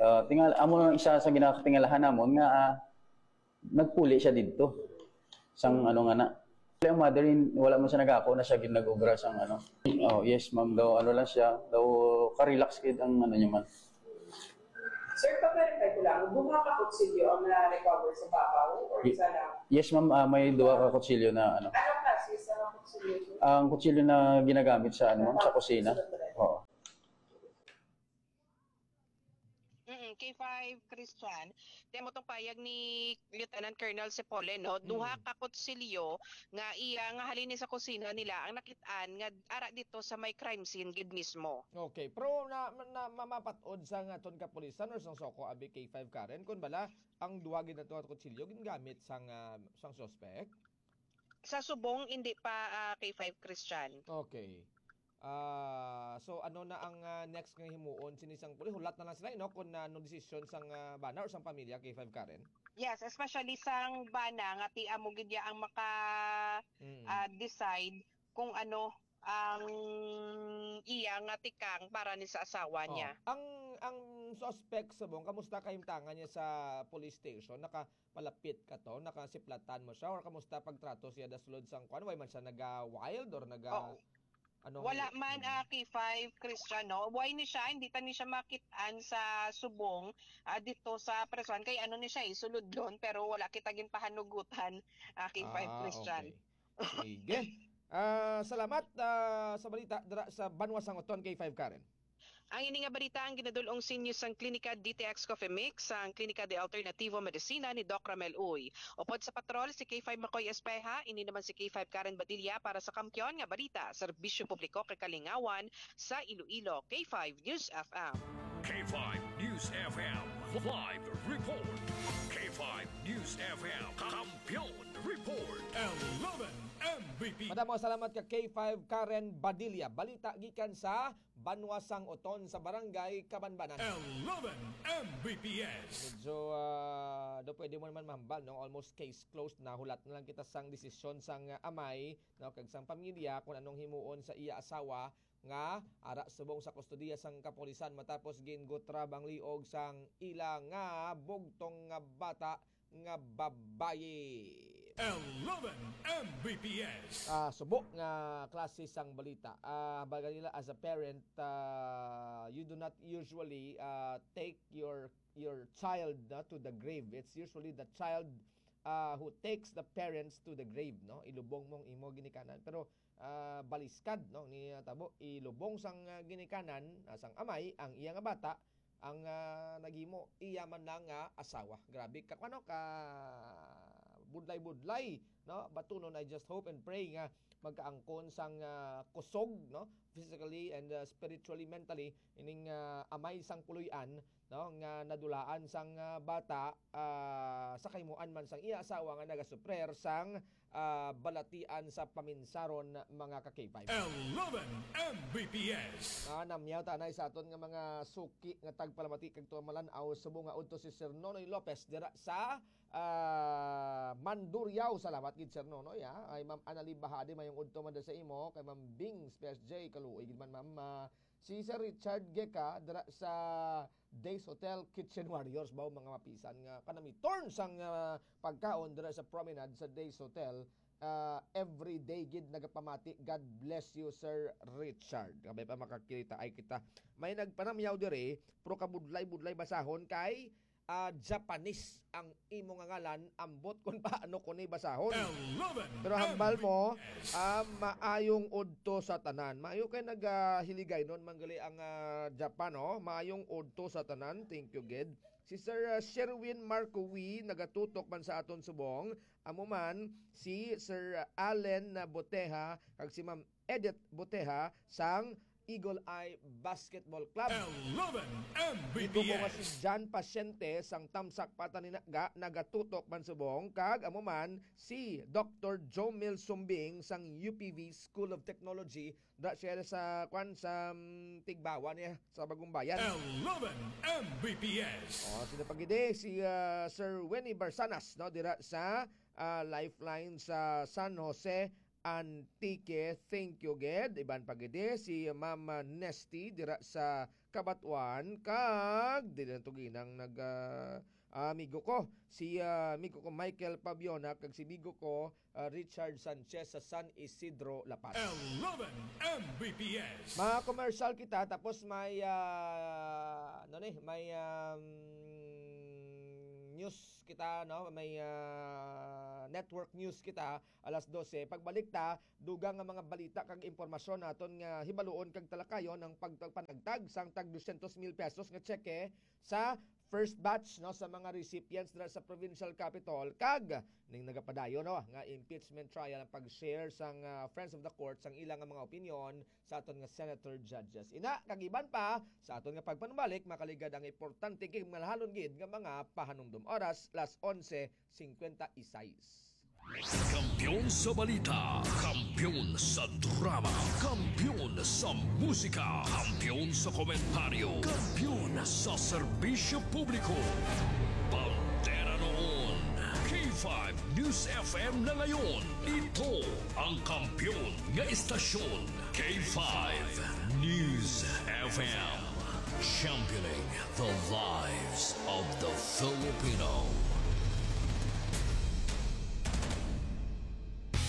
Ah, tingal amo lang isa sa ginakatingalahan namon nga ah, nagpuli siya didto. Sang ano nga na. Ang mother in, wala man siya nagako na siya gid nag-obra sang ano. Oh, yes ma'am daw, ano lang siya, daw ka-relax gid ang ano niya man. Sir, pa-verify ko lang, duha ka kutsilyo ang na-recover sa babaw or Y- isa lang? Yes ma'am, ah, may duha ka kutsilyo na ano. Anong klase sa kutsilyo, sir? Ang kutsilyo na ginagamit sa ano ma'am, sa kusina. Oo. Mm, K five Christian, demo tong payag ni Lieutenant Colonel Sepole, no? Duha Mm. ka kutsilyo nga iya nga halin ni sa kusina nila ang nakit-an nga ara dito sa may crime scene gid mismo. Okay, pero na, na mamapat-od sa nga aton kapulisan or sang SOCO abi K five Karen kun bala ang duha gid nato nga kutsilyo gingamit sang ah, sang suspect. Sa subong, hindi pa ah, K five Christian. Okay. Ah, so ano na ang ah, next nga himuon sini sang pulis? Hulat na lang sila, no, kung ano desisyon sang ah, bana or sang pamilya K five Karen. Yes, especially sang bana nga ti amo gid ya ang maka Mm. ah, decide kung ano ang iya nga tikang para ni sa asawa Oh, niya. ang ang suspect subong, kamusta kahimtangan niya sa police station? Nakapalapit ka to? Nakasiplatan mo siya? Or kamusta pagtrato siya da sulod sang kuan? Way man siya naga-wild or naga Oo. ano? Wala man ah, K five Christian, no? Why ni siya? Hindi ta ni siya makit-an sa subong ah, dito sa prisuhan. Kay ano ni siya eh, sulod doon, pero wala kita ginpahanugutan ah, K five Ah, Christian. Okay. Sige. Ah, salamat ah, sa balita dira sa Banwa sang Oton K five Karen. Ang ini nga balita ang ginadul-ong sa inyo sang Klinika D T X Coffee Mix, sang Klinika de Alternativo Medicina ni Doc Ramel Uy. Upod sa patrol si K five Makoy Espeha, ini naman si K five Karen Badilla para sa Kampiyon nga Balita, Serbisyo Publiko kag Kalingawan sa Iloilo, K five News F M. K five News F M live report. K five News F M Kampiyon Report. Eleven M V P. Madamo salamat ka K five Karen Badilla. Balita gikan sa Banwa sang Oton sa Barangay Kabanbanan. Eleven M V P S. Medyo ah, do pwede mo naman mahambal, no? Almost case closed na. Hulat na lang kita sang desisyon sang ah, amay, no, kag sang pamilya kung anong himuon sa iya asawa nga ara subong sa kustodiya sang kapulisan matapos gingutrab ang liog sang ila nga bugtong nga bata nga babayi. Eleven M V P S. Ah, subo nga klase sang balita. Ah, baga nila as a parent, ah, you do not usually ah, take your your child na to the grave. It's usually the child ah, who takes the parents to the grave, no? Ilubong mong imo ginikanan. Pero ah, baliskad, no, ni ah, tabo, ilubong sang ah, ginikanan ah, sang amay ang iya nga bata, ang ah, naghimo iya man lang nga asawa. Grabe ka ano ka budlay-budlay, no? Batunon, I just hope and pray nga magkaangkon sang ah, kusog, no, physically and ah, spiritually, mentally, ining ah, amay sang puloy-an, no, nga nadulaan sang ah, bata ah, sa kahimuan man sang iya asawa nga nagasuprer sang ah, balatian sa paminsaron, mga ka-K five. Eleven M V P S. Ah, namyaw ta anay sa aton nga mga suki nga tagpalamati kag tumalan-aw subong nga udto si Sir Nonoy Lopez dira sa ah, Mandurriao. Salamat gid Sir Nonoy, ha. Ay Ma'am Annalie Bahadi, mayong udto man sa imo, kay Ma'am Bing Space J, kaluoy gid man Ma'am. Ah, si Sir Richard Geka dira sa Days Hotel, Kitchen Warriors ba, mga mapisan nga kanamiton sang ah, pagkaon dira sa promenade sa Days Hotel. Ah, every day gid nagapamati. God bless you, Sir Richard. Kabay pa makakita ay kita. May nagpanamyaw diri, pero kabudlay-budlay basahon kay ah, Japanese ang imo nga ngalan, ambot kung paano ko ni basahon. Eleven Pero hambal mo, ah, maayong udto sa tanan. Maayo kay nagahiligaynon man gali ang ah, Japan, oh. Maayong udto sa tanan. Thank you gid. Si Sir ah, Sherwin Marcowi nagatutok man sa aton subong. Amo man si Sir Allen Boteha kag si Ma'am Edith Boteha sang Eagle Eye Basketball Club. Eleven M B P S. Ito ko nga si John Pasyente sang Tamsak Pataninaga, nagatutok man subong, kag amo man si Doctor Jomel Sumbing sang U P V School of Technology. Da siya sa, kwan, sa, mm, Tigbawa niya sa Bagong Bayan. Eleven M B P S. Oh, sino pa gid eh? Si, ah, Sir Winnie Barsanas, no, dira sa, ah, Lifeline sa San Jose, Antique. Thank you gid. Iban pa gid eh, si Ma'am Nesty dira sa Cabatuan, kag dili lang to ginang nag, ah, ah, amigo ko, si, ah, amigo ko Michael Pabiona, kag si amigo ko, ah, Richard Sanchez sa San Isidro, La Paz. Eleven M B P S. Mga commercial kita, tapos may, ah, ano ni, may, um, news kita, no? May, ah, network news kita, alas dose. Pagbalik ta, dugang nga mga balita kag impormasyon naton nga hibaluon kag talakayon ang pagpanagtag sang tag dosyentos mil pesos nga tseke sa first batch, no, sa mga recipients dira sa provincial capital, kag ning nagapadayon, no, nga impeachment trial ang pag-share sang, ah, Friends of the Court sang ila nga mga opinyon sa aton nga senator judges. Ina, kag iban pa, sa aton nga pagpanumbalik, makaligad ang importante kag malahalon gid nga mga pahanumdom. Oras, las onse cincuenta y seis. Kampiyon sa balita, kampiyon sa drama, kampiyon sa musika, kampiyon sa komentaryo, kampiyon sa serbisyo publiko. Bandera noon, K five News F M na ngayon. Ito ang kampiyon nga istasyon, K five News F M. Championing the lives of the Filipino.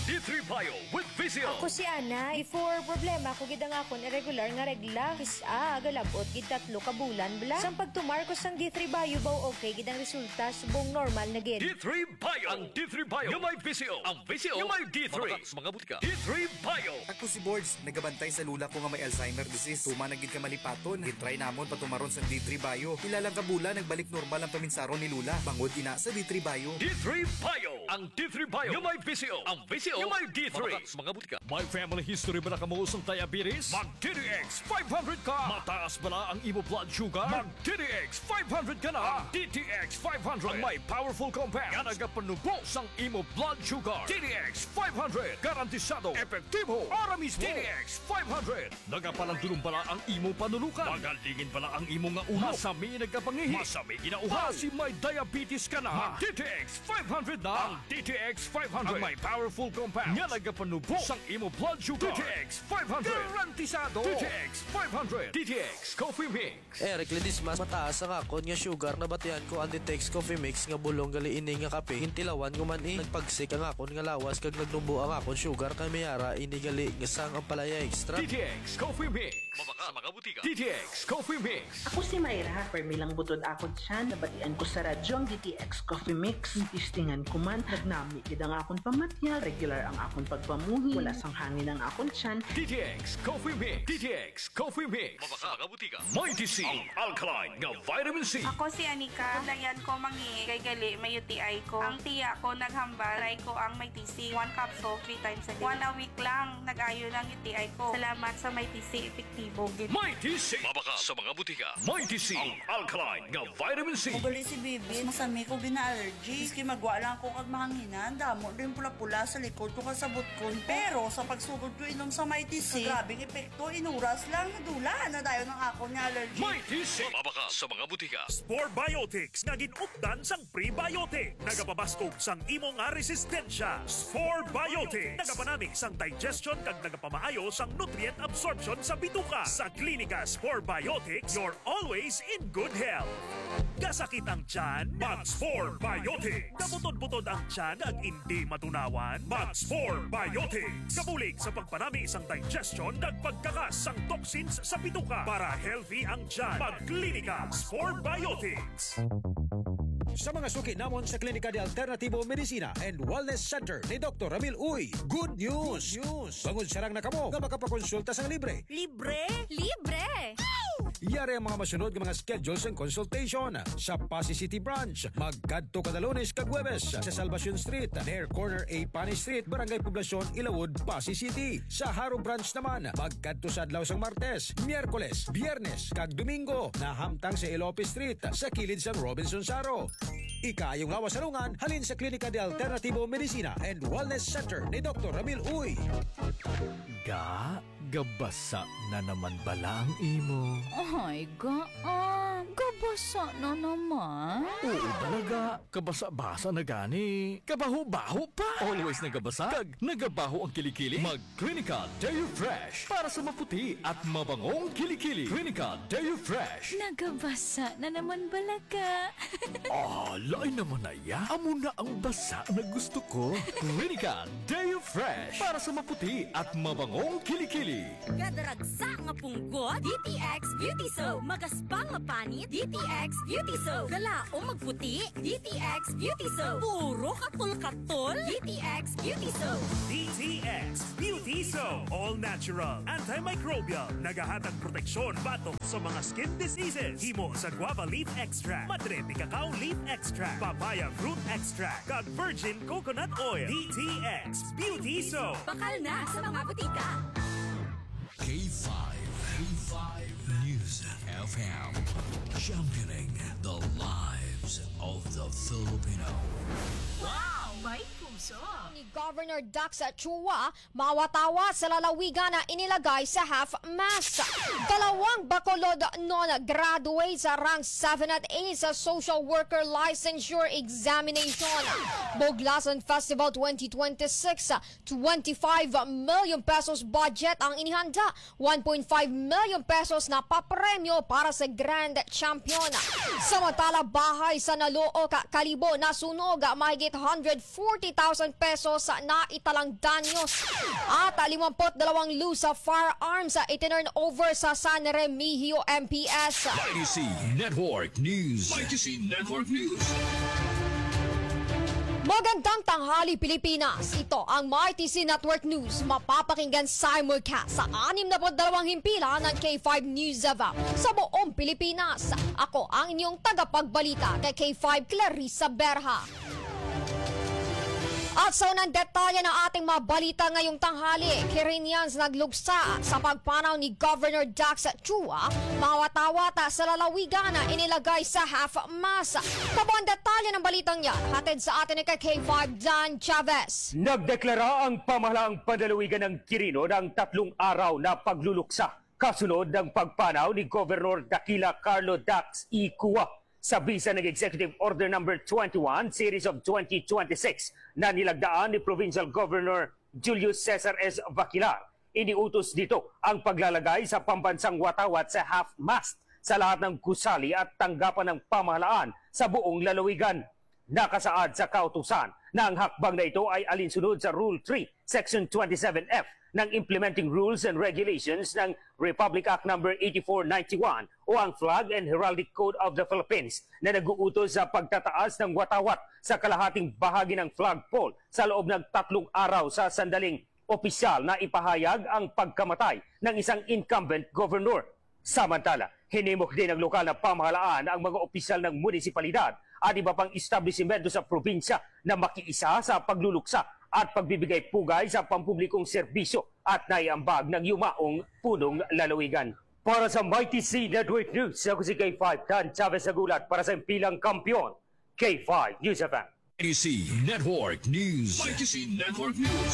D three Bio with Visio. Ako si Ana. Before, problema ko gid ang akon irregular nga regla. Kis-a, galab-ot gid tatlo ka bulan bala. Sang pagtumar ko sang D three Bio, baw okay gid ang resulta, subong normal na gid. D three Bio. Ang D three Bio nga may Visio. Ang Visio nga may D three. Mabakak sa mga butika. D three Bio. Ako si Borge, nagabantay sa lula ko nga may Alzheimer disease. Tuman na gid ka malipaton. Gitry namon patumaron sang D three Bio. Pila lang ka bulan, nagbalik normal ang paminsaron ni lula. Bangod ina sa D three Bio. D three Bio. Ang D three Bio nga may Visio. Ang Visio nga may D three. Mabakak sa mga butika. May family history ba na kamo sang diabetes? Mag D T X five hundred ka. Mataas bala ang imo blood sugar? Mag D T X five hundred ka na. Ang D T X five hundred ang may powerful compound nga nagapanubo sang imo blood sugar. D T X five hundred, garantisado, epektibo, ara mismo. D T X five hundred, nagapalandulong bala ang imo panulukan? Magalingin bala ang imo nga ulo? Masami nagkapangihi? Masami ginauhaw? Basi may diabetes ka na? Mag D T X five hundred na. Ang D T X five hundred ang may powerful compound nga nagapanubo sang imo blood sugar. D T X five hundred, garantisado. D T X five hundred, D T X Coffee Mix. Eric Ledesma, mataas ang akon nga sugar. Nabatian ko ang D T X Coffee Mix nga bulong gali ini nga kape. Gintilawan ko man, eh. Nagpagsik ang akon nga lawas kag nagnubo ang akon sugar, kay may ara ini gali nga sang ampalaya extra. D T X Coffee Mix. Mabakak sa mga butika. D T X Coffee Mix. Ako si Myra. Permi lang butod akon tiyan. Nabatian ko sa radyo ang D T X Coffee Mix. Testingan ko man, nagnami gid ang akon pamatyag. Regular ang akon pagpamuhi. Wala sang hangin ang akon tiyan. D T X Coffee Mix. D T X Coffee Mix. Mabakak sa mga butika. Mighty C, ang alkaline nga vitamin C. Ako si Anika. Kadlayan ko mangihi kay gali may U T I ko. Ang tiya ko naghambal, try ko ang Mighty C. One capsule, three times a day. One a week lang, nag-ayo na ang U T I ko. Salamat sa Mighty C, epektibo gid. Mighty C. Mabakak sa mga butika. Mighty C, ang alkaline nga vitamin C. Magali si Bibi, masami ko gina-allergy. Maski magwa lang ako kag mahanginan, damo din pula-pula sa likod ko kag sa butkon ko. Pero sa pagsugod ko inom sa Mighty C, grabing epekto, inuras lang, nadula na dayon ang akon nga allergy. Mighty C. Mabakak sa mga butika. Spore Biotics nga gin-updan sang prebiotic. Nagapabaskog sang imo nga resistensya. Spore Biotics. Nagapanami sang digestion kag nagapamaayo sang nutrient absorption sa bituka. Sa Klinika Spore Biotics, you're always in good health. Kasakit ang tiyan? Mag Spore Biotics. Kabutod-butod ang tiyan kag indi matunawan? Mag Spore Biotics. Kabulig sa pagpanami sang digestion kag pagkakas sang toxins sa bituka. Para healthy ang tiyan, mag Klinika Spore Biotics. Sa mga suki namon sa Klinika de Alternativo Medicina and Wellness Center ni Doktor Ramil Uy, good news! Good news! Bangod sarang na kamo nga makapakonsulta sang libre. Libre? Libre! Yari ang mga masunod nga mga schedule sang consultation. Sa Passi City Branch, magkadto kada Lunes kag Huwebes sa Salvacion Street, near corner A Pani Street, Barangay Poblacion, Ilawod, Passi City. Sa Jaro Branch naman, magkadto sa adlaw sang Martes, Miyerkules, Biyernes, kag Domingo, nahamtang sa Elope Street, sa kilid sang Robinson Jaro. Ikaayong lawas sa lungan, halin sa Klinika de Alternativo Medicina and Wellness Center ni Doktor Ramil Uy. Ga, gabasa na naman bala ang imo? Ay, ga, ah, gabasa na naman. Oo, bala, ga. Kabasa-basa na gani. Kabaho-baho pa. Always nagabasa. Kag nagabaho ang kilikili. Mag Clinica Deo Fresh para sa maputi at mabangong kilikili. Clinica Deo Fresh. Nagabasa na naman bala ka. Ah, lain naman na ya. Amo na ang basa na gusto ko. Clinica Deo Fresh para sa maputi at mabangong kilikili. Kadaragsa nga punggot, D T X Beauty Soap. Magaspang nga panit, D T X Beauty Soap. Galaom magputi, D T X Beauty Soap. Puro katol-katol, D T X Beauty Soap. D T X Beauty Soap. All natural, antimicrobial. Nagahatag proteksyon batok sa mga skin diseases. Himo sa guava leaf extract, madre de cacao leaf extract, papaya fruit extract, kag virgin coconut oil. D T X Beauty Soap. Bakal na sa mga butika. K five, K five News F M, championing the lives of the Filipino. Wow! May puso! Ni Governor Dax Chua, mawatawa sa lalawigan na inilagay sa half mast. Dalawang Bacolod non graduate sa rank seven at eight sa social worker licensure examination. Buglasan Festival twenty twenty-six, twenty-five million pesos budget ang inihanda, one point five million pesos na papremyo para sa grand champion. Samantala, bahay sa Nalook, Kalibo nasunog, mahigit hundred forty thousand pesos na italang danyos, at limampu't dalawang loose firearms itinurn over sa San Remigio M P S. Mighty C Network News. Mighty C Network News. Magandang tanghali, Pilipinas. Ito ang Mighty C Network News. Mapapakinggan simulcast sa anim na put dalawang himpilan ng K five News F M sa buong Pilipinas. Ako ang inyong tagapagbalita kay K five, Clarissa Berha. At sa unang detalye ng ating mga balita ngayong tanghali, Quirinians nagluksa sa pagpanaw ni Governor Dax Chua, mawat-awat sa lalawigan na inilagay sa half mast. Kabuang detalye ng balitang yan, hatid sa atin ni K five Dan Chavez. Nagdeklara ang pamahalaang panlalawigan ng Quirino ng tatlong araw na pagluluksa kasunod ng pagpanaw ni Governor Daquila Carlo Dax E. Cua sa bisa ng Executive Order Number Twenty-one, Series of twenty twenty-six, na nilagdaan ni Provincial Governor Julius Cesar S. Vaquilar. Iniutos dito ang paglalagay sa pambansang watawat sa half-mast sa lahat ng gusali at tanggapan ng pamahalaan sa buong lalawigan. Nakasaad sa kautusan na ang hakbang na ito ay alinsunod sa Rule three, Section twenty-seven F ng Implementing Rules and Regulations ng Republic Act Number eighty-four ninety-one o ang Flag and Heraldic Code of the Philippines, na nag-uutos sa pagtataas ng watawat sa kalahating bahagi ng flagpole sa loob ng tatlong araw sa sandaling opisyal na ipahayag ang pagkamatay ng isang incumbent governor. Samantala, hinimok din ng lokal na pamahalaan ang mga opisyal ng munisipalidad at iba pang establisimento sa probinsya na makiisa sa pagluluksa at pagbibigay pugay sa pampublikong serbisyo at naiambag ng yumaong punong lalawigan. Para sa Mighty C Network News, ako si K five Dan Chavez Agulat para sa Impilang Kampiyon, K five News F M. Mighty C Network News. Mighty C Network News.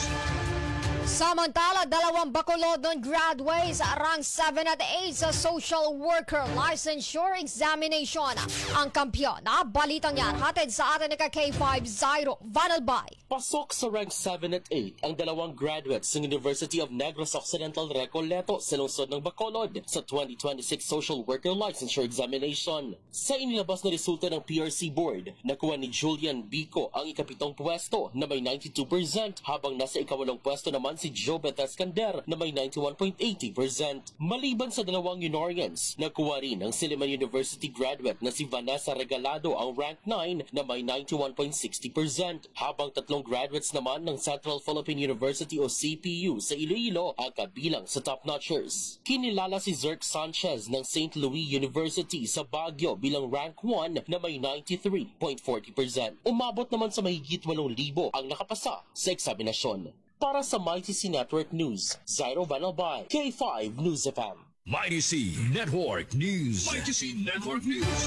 Samantala, dalawang Bacolod non graduates rank seven at eight sa Social Worker Licensure Examination ang kampiyon. Ah, balitang yan, hatid sa atin ni ka K five Zairo Vanalbay. Pasok sa rank seven at eight ang dalawang graduates ng University of Negros Occidental Recoleto sa lungsod ng Bacolod sa twenty twenty-six Social Worker Licensure Examination. Sa inilabas na resulta ng P R C Board, nakuha ni Julian Bico ang ikapitong pwesto na may ninety-two percent, habang nasa ikawalong pwesto naman si Jobeth Escander na may ninety-one point eighty percent. Maliban sa dalawang Unorians, nakuha rin ng Silliman University graduate na si Vanessa Regalado ang rank nine na may ninety-one point sixty percent, habang tatlong graduates naman ng Central Philippine University o C P U sa Iloilo ang kabilang sa top notchers. Kinilala si Zerk Sanchez ng Saint Louis University sa Baguio bilang rank one na may ninety-three point forty percent. Umabot naman sa mahigit walong libo ang nakapasa sa eksaminasyon. Para sa Mighty C Network News, Zairo Vanalbay, K five News F M. Mighty C Network News. Mighty C Network News.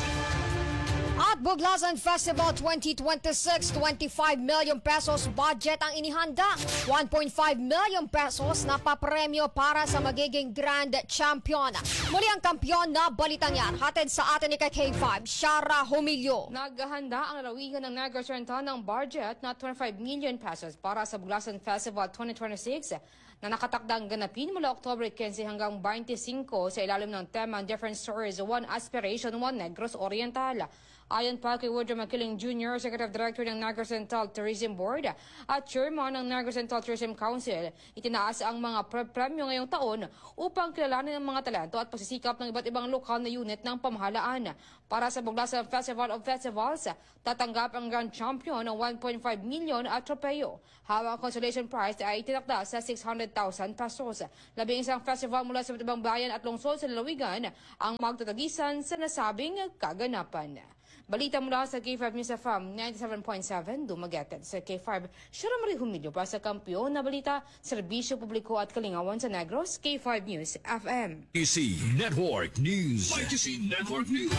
At Buglasan Festival twenty twenty-six, twenty-five million pesos budget ang inihanda. One point five million pesos na papremyo para sa magiging grand champion. Muli ang kampiyon na balitang yan. Hatid sa atin ni K five, Shara Humilio. Naghahanda ang lalawigan ng Negros Oriental ng budget na twenty-five million pesos para sa Buglasan Festival twenty twenty-six na nakatakdang ganapin mula October quince hanggang twenty-five sa ilalim ng tema Different Stories, One Aspiration, One Negros Oriental. Ayon pa kay Woodrow Makiling Junior, Executive Director ng Negros Oriental Tourism Board at Chairman ng Negros Oriental Tourism Council, itinaas ang mga pre- premyo ngayong taon upang kilalanin ang mga talento at pagsisikap ng iba't ibang lokal na unit ng pamahalaan. Para sa Buglasan Festival of Festivals, tatanggap ang grand champion ng one point five million at tropeyo, habang ang consolation prize ay itinakda sa six hundred thousand pesos. Labing isang festival mula sa iba't ibang bayan at lungsod sa lalawigan ang magtatagisan sa nasabing kaganapan. Balita mula sa K five News F M ninety-seven point seven, Dumaguete. Sa K five, Shara Marie Humilio para sa Kampiyon na Balita, Serbisyo Publiko at Kalingawan sa Negros, K five News F M. K C Network News. K C Network News.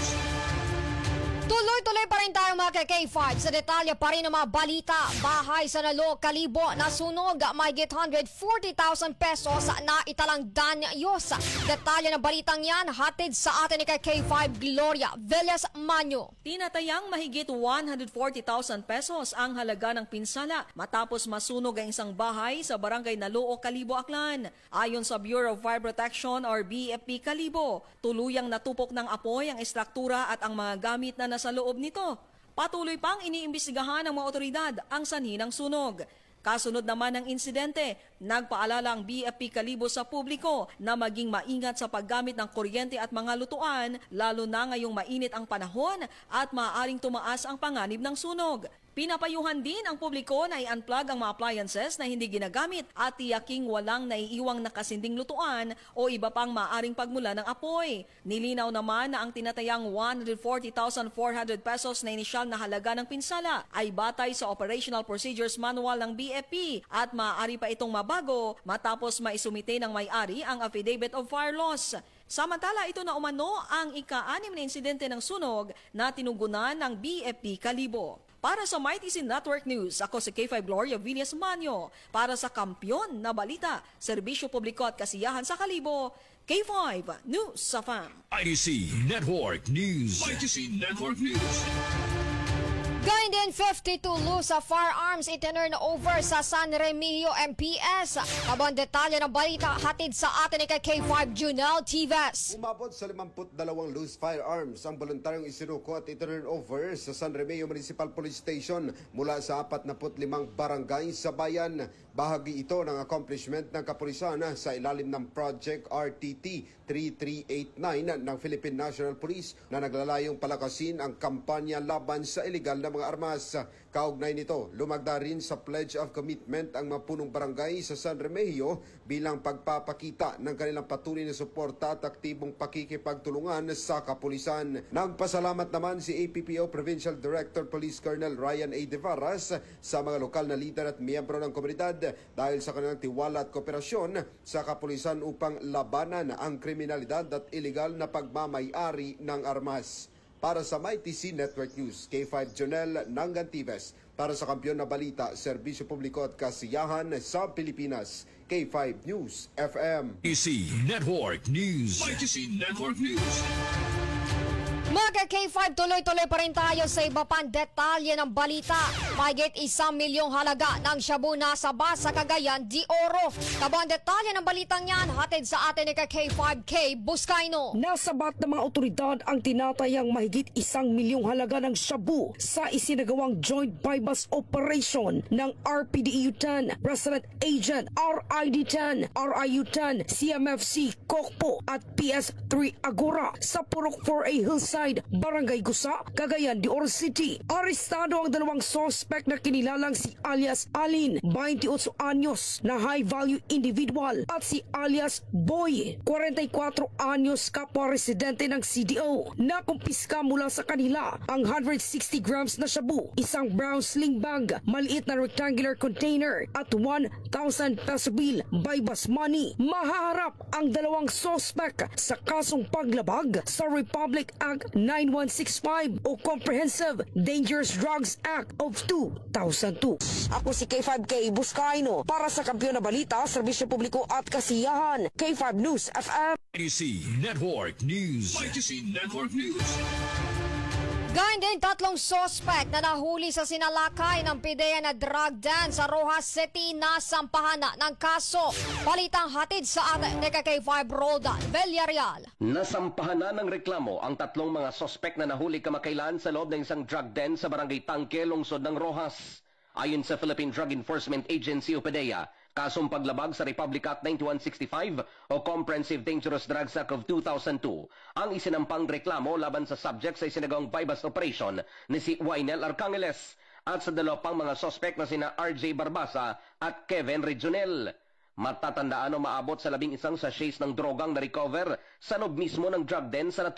Tuloy-tuloy pa rin tayo, mga ka-K five. Sa detalye pa rin ng mga balita, bahay sa Nalo, Kalibo, nasunog, mahigit hundred forty thousand pesos na italang danyos. Detalye ng balitang yan, hatid sa atin ni ka-K five Gloria Velez Manyo. Tinatayang mahigit one hundred forty thousand pesos ang halaga ng pinsala matapos masunog ang isang bahay sa barangay Naloo, Kalibo, Aklan. Ayon sa Bureau of Fire Protection or B F P Kalibo, tuluyang natupok ng apoy ang estruktura at ang mga gamit na nasa loob nito. Patuloy pang iniimbestigahan ng mga otoridad ang sanhi ng sunog. Kasunod naman ng insidente, nagpaalala ang B F P Kalibo sa publiko na maging maingat sa paggamit ng kuryente at mga lutuan, lalo na ngayong mainit ang panahon at maaaring tumaas ang panganib ng sunog. Pinapayuhan din ang publiko na i-unplug ang mga appliances na hindi ginagamit at tiyaking walang naiiwang nakasinding lutuan o iba pang maaaring pagmula ng apoy. Nilinaw naman na ang tinatayang one hundred forty thousand four hundred pesos na inisyal na halaga ng pinsala ay batay sa Operational Procedures Manual ng B F P at maaari pa itong mabago matapos maisumite ng may-ari ang Affidavit of Fire Loss. Samantala, ito na umano ang ika-anim na insidente ng sunog na tinugunan ng B F P Kalibo. Para sa Mighty C Network News, ako si K five Gloria Villas Manyo. Para sa Kampiyon na Balita, Serbisyo Publiko at Kasiyahan sa Kalibo, K five News F M. I D C Network News. I D C Network News. Gayon din, fifty-two loose firearms itinurn over sa San Remigio M P S. Abang detalye ng balita, hatid sa atin ni ka-K five Junel Tives. Umabot sa limampu't dalawang loose firearms ang voluntaryong isinuko at itinurn over sa San Remigio Municipal Police Station mula sa apat na put limang barangay sa bayan. Bahagi ito ng accomplishment ng kapulisan sa ilalim ng Project R T T three three eight nine ng Philippine National Police na naglalayong palakasin ang kampanya laban sa iligal na mga armas. Kaugnay nito, lumagda rin sa Pledge of Commitment ang mga punong barangay sa San Remigio bilang pagpapakita ng kanilang patuloy na suporta at aktibong pakikipagtulungan sa kapulisan. Nagpasalamat naman si A P P O Provincial Director Police Colonel Ryan A. De Varas sa mga lokal na lider at miyembro ng komunidad dahil sa kanilang tiwala at kooperasyon sa kapulisan upang labanan ang kriminalidad at iligal na pagmamay-ari ng armas. Para sa Mighty C Network News, K five Jonel Nangantives. Para sa Kampiyon na Balita, Serbisyo Publiko at Kasiyahan sa Pilipinas, K five News F M. Mighty C Network News. Mighty C Network News. Mga ka-K five, tuloy-tuloy pa rin tayo sa iba pang detalye ng balita. Mahigit isang milyong halaga ng shabu nasabat sa Cagayan de Oro. Kabuang detalye ng balitang yan, hatid sa atin ni ka K five K Buscaino. Nasabat ng mga otoridad ang tinatayang mahigit isang milyong halaga ng shabu sa isinagawang joint buy-bust operation ng R P D E U ten, Resident Agent R I D ten, R I U ten, C M F C, COCPO at P S three Agora sa Purok four A Hillside, Barangay Gusa, Cagayan de Oro City. Arestado ang dalawang suspek na kinilalang si alias Alin, twenty-eight anyos, na high value individual, at si alias Boy, forty-four anyos, kapwa residente ng C D O. Nakumpiska mula sa kanila ang hundred sixty grams na shabu, isang brown sling bag, maliit na rectangular container, at one thousand peso bill, buy-bust money. Mahaharap ang dalawang suspek sa kasong paglabag sa Republic Act nine one six five o Comprehensive Dangerous Drugs Act of two thousand two. Ako si K five K Buscaino para sa Kampiyon na Balita, Serbisyo Publiko at Kasiyahan, K five News F M. Y G C Network News. Y G C Network News. Gayon din, tatlong suspek na nahuli sa sinalakay ng PDEA na drug den sa Roxas City nasampahan na ng kaso. Balitang hatid sa atin ni ka K five Roldan Villarreal. Nasampahan na ng reklamo ang tatlong mga suspek na nahuli kamakailan sa loob ng isang drug den sa Barangay Tangke, lungsod ng Roxas. Ayon sa Philippine Drug Enforcement Agency o PDEA, kasong paglabag sa Republic Act ninety-one sixty-five o Comprehensive Dangerous Drugs Act of two thousand two ang isinampang reklamo laban sa subject sa isinagawang buy-bust operation ni si Wainel Arcangeles at sa dalawa pang mga suspek na sina R J Barbasa at Kevin Regionel. Matatandaan, umaabot sa labing isang sachets ng drogang na-recover sa loob mismo ng drug den sa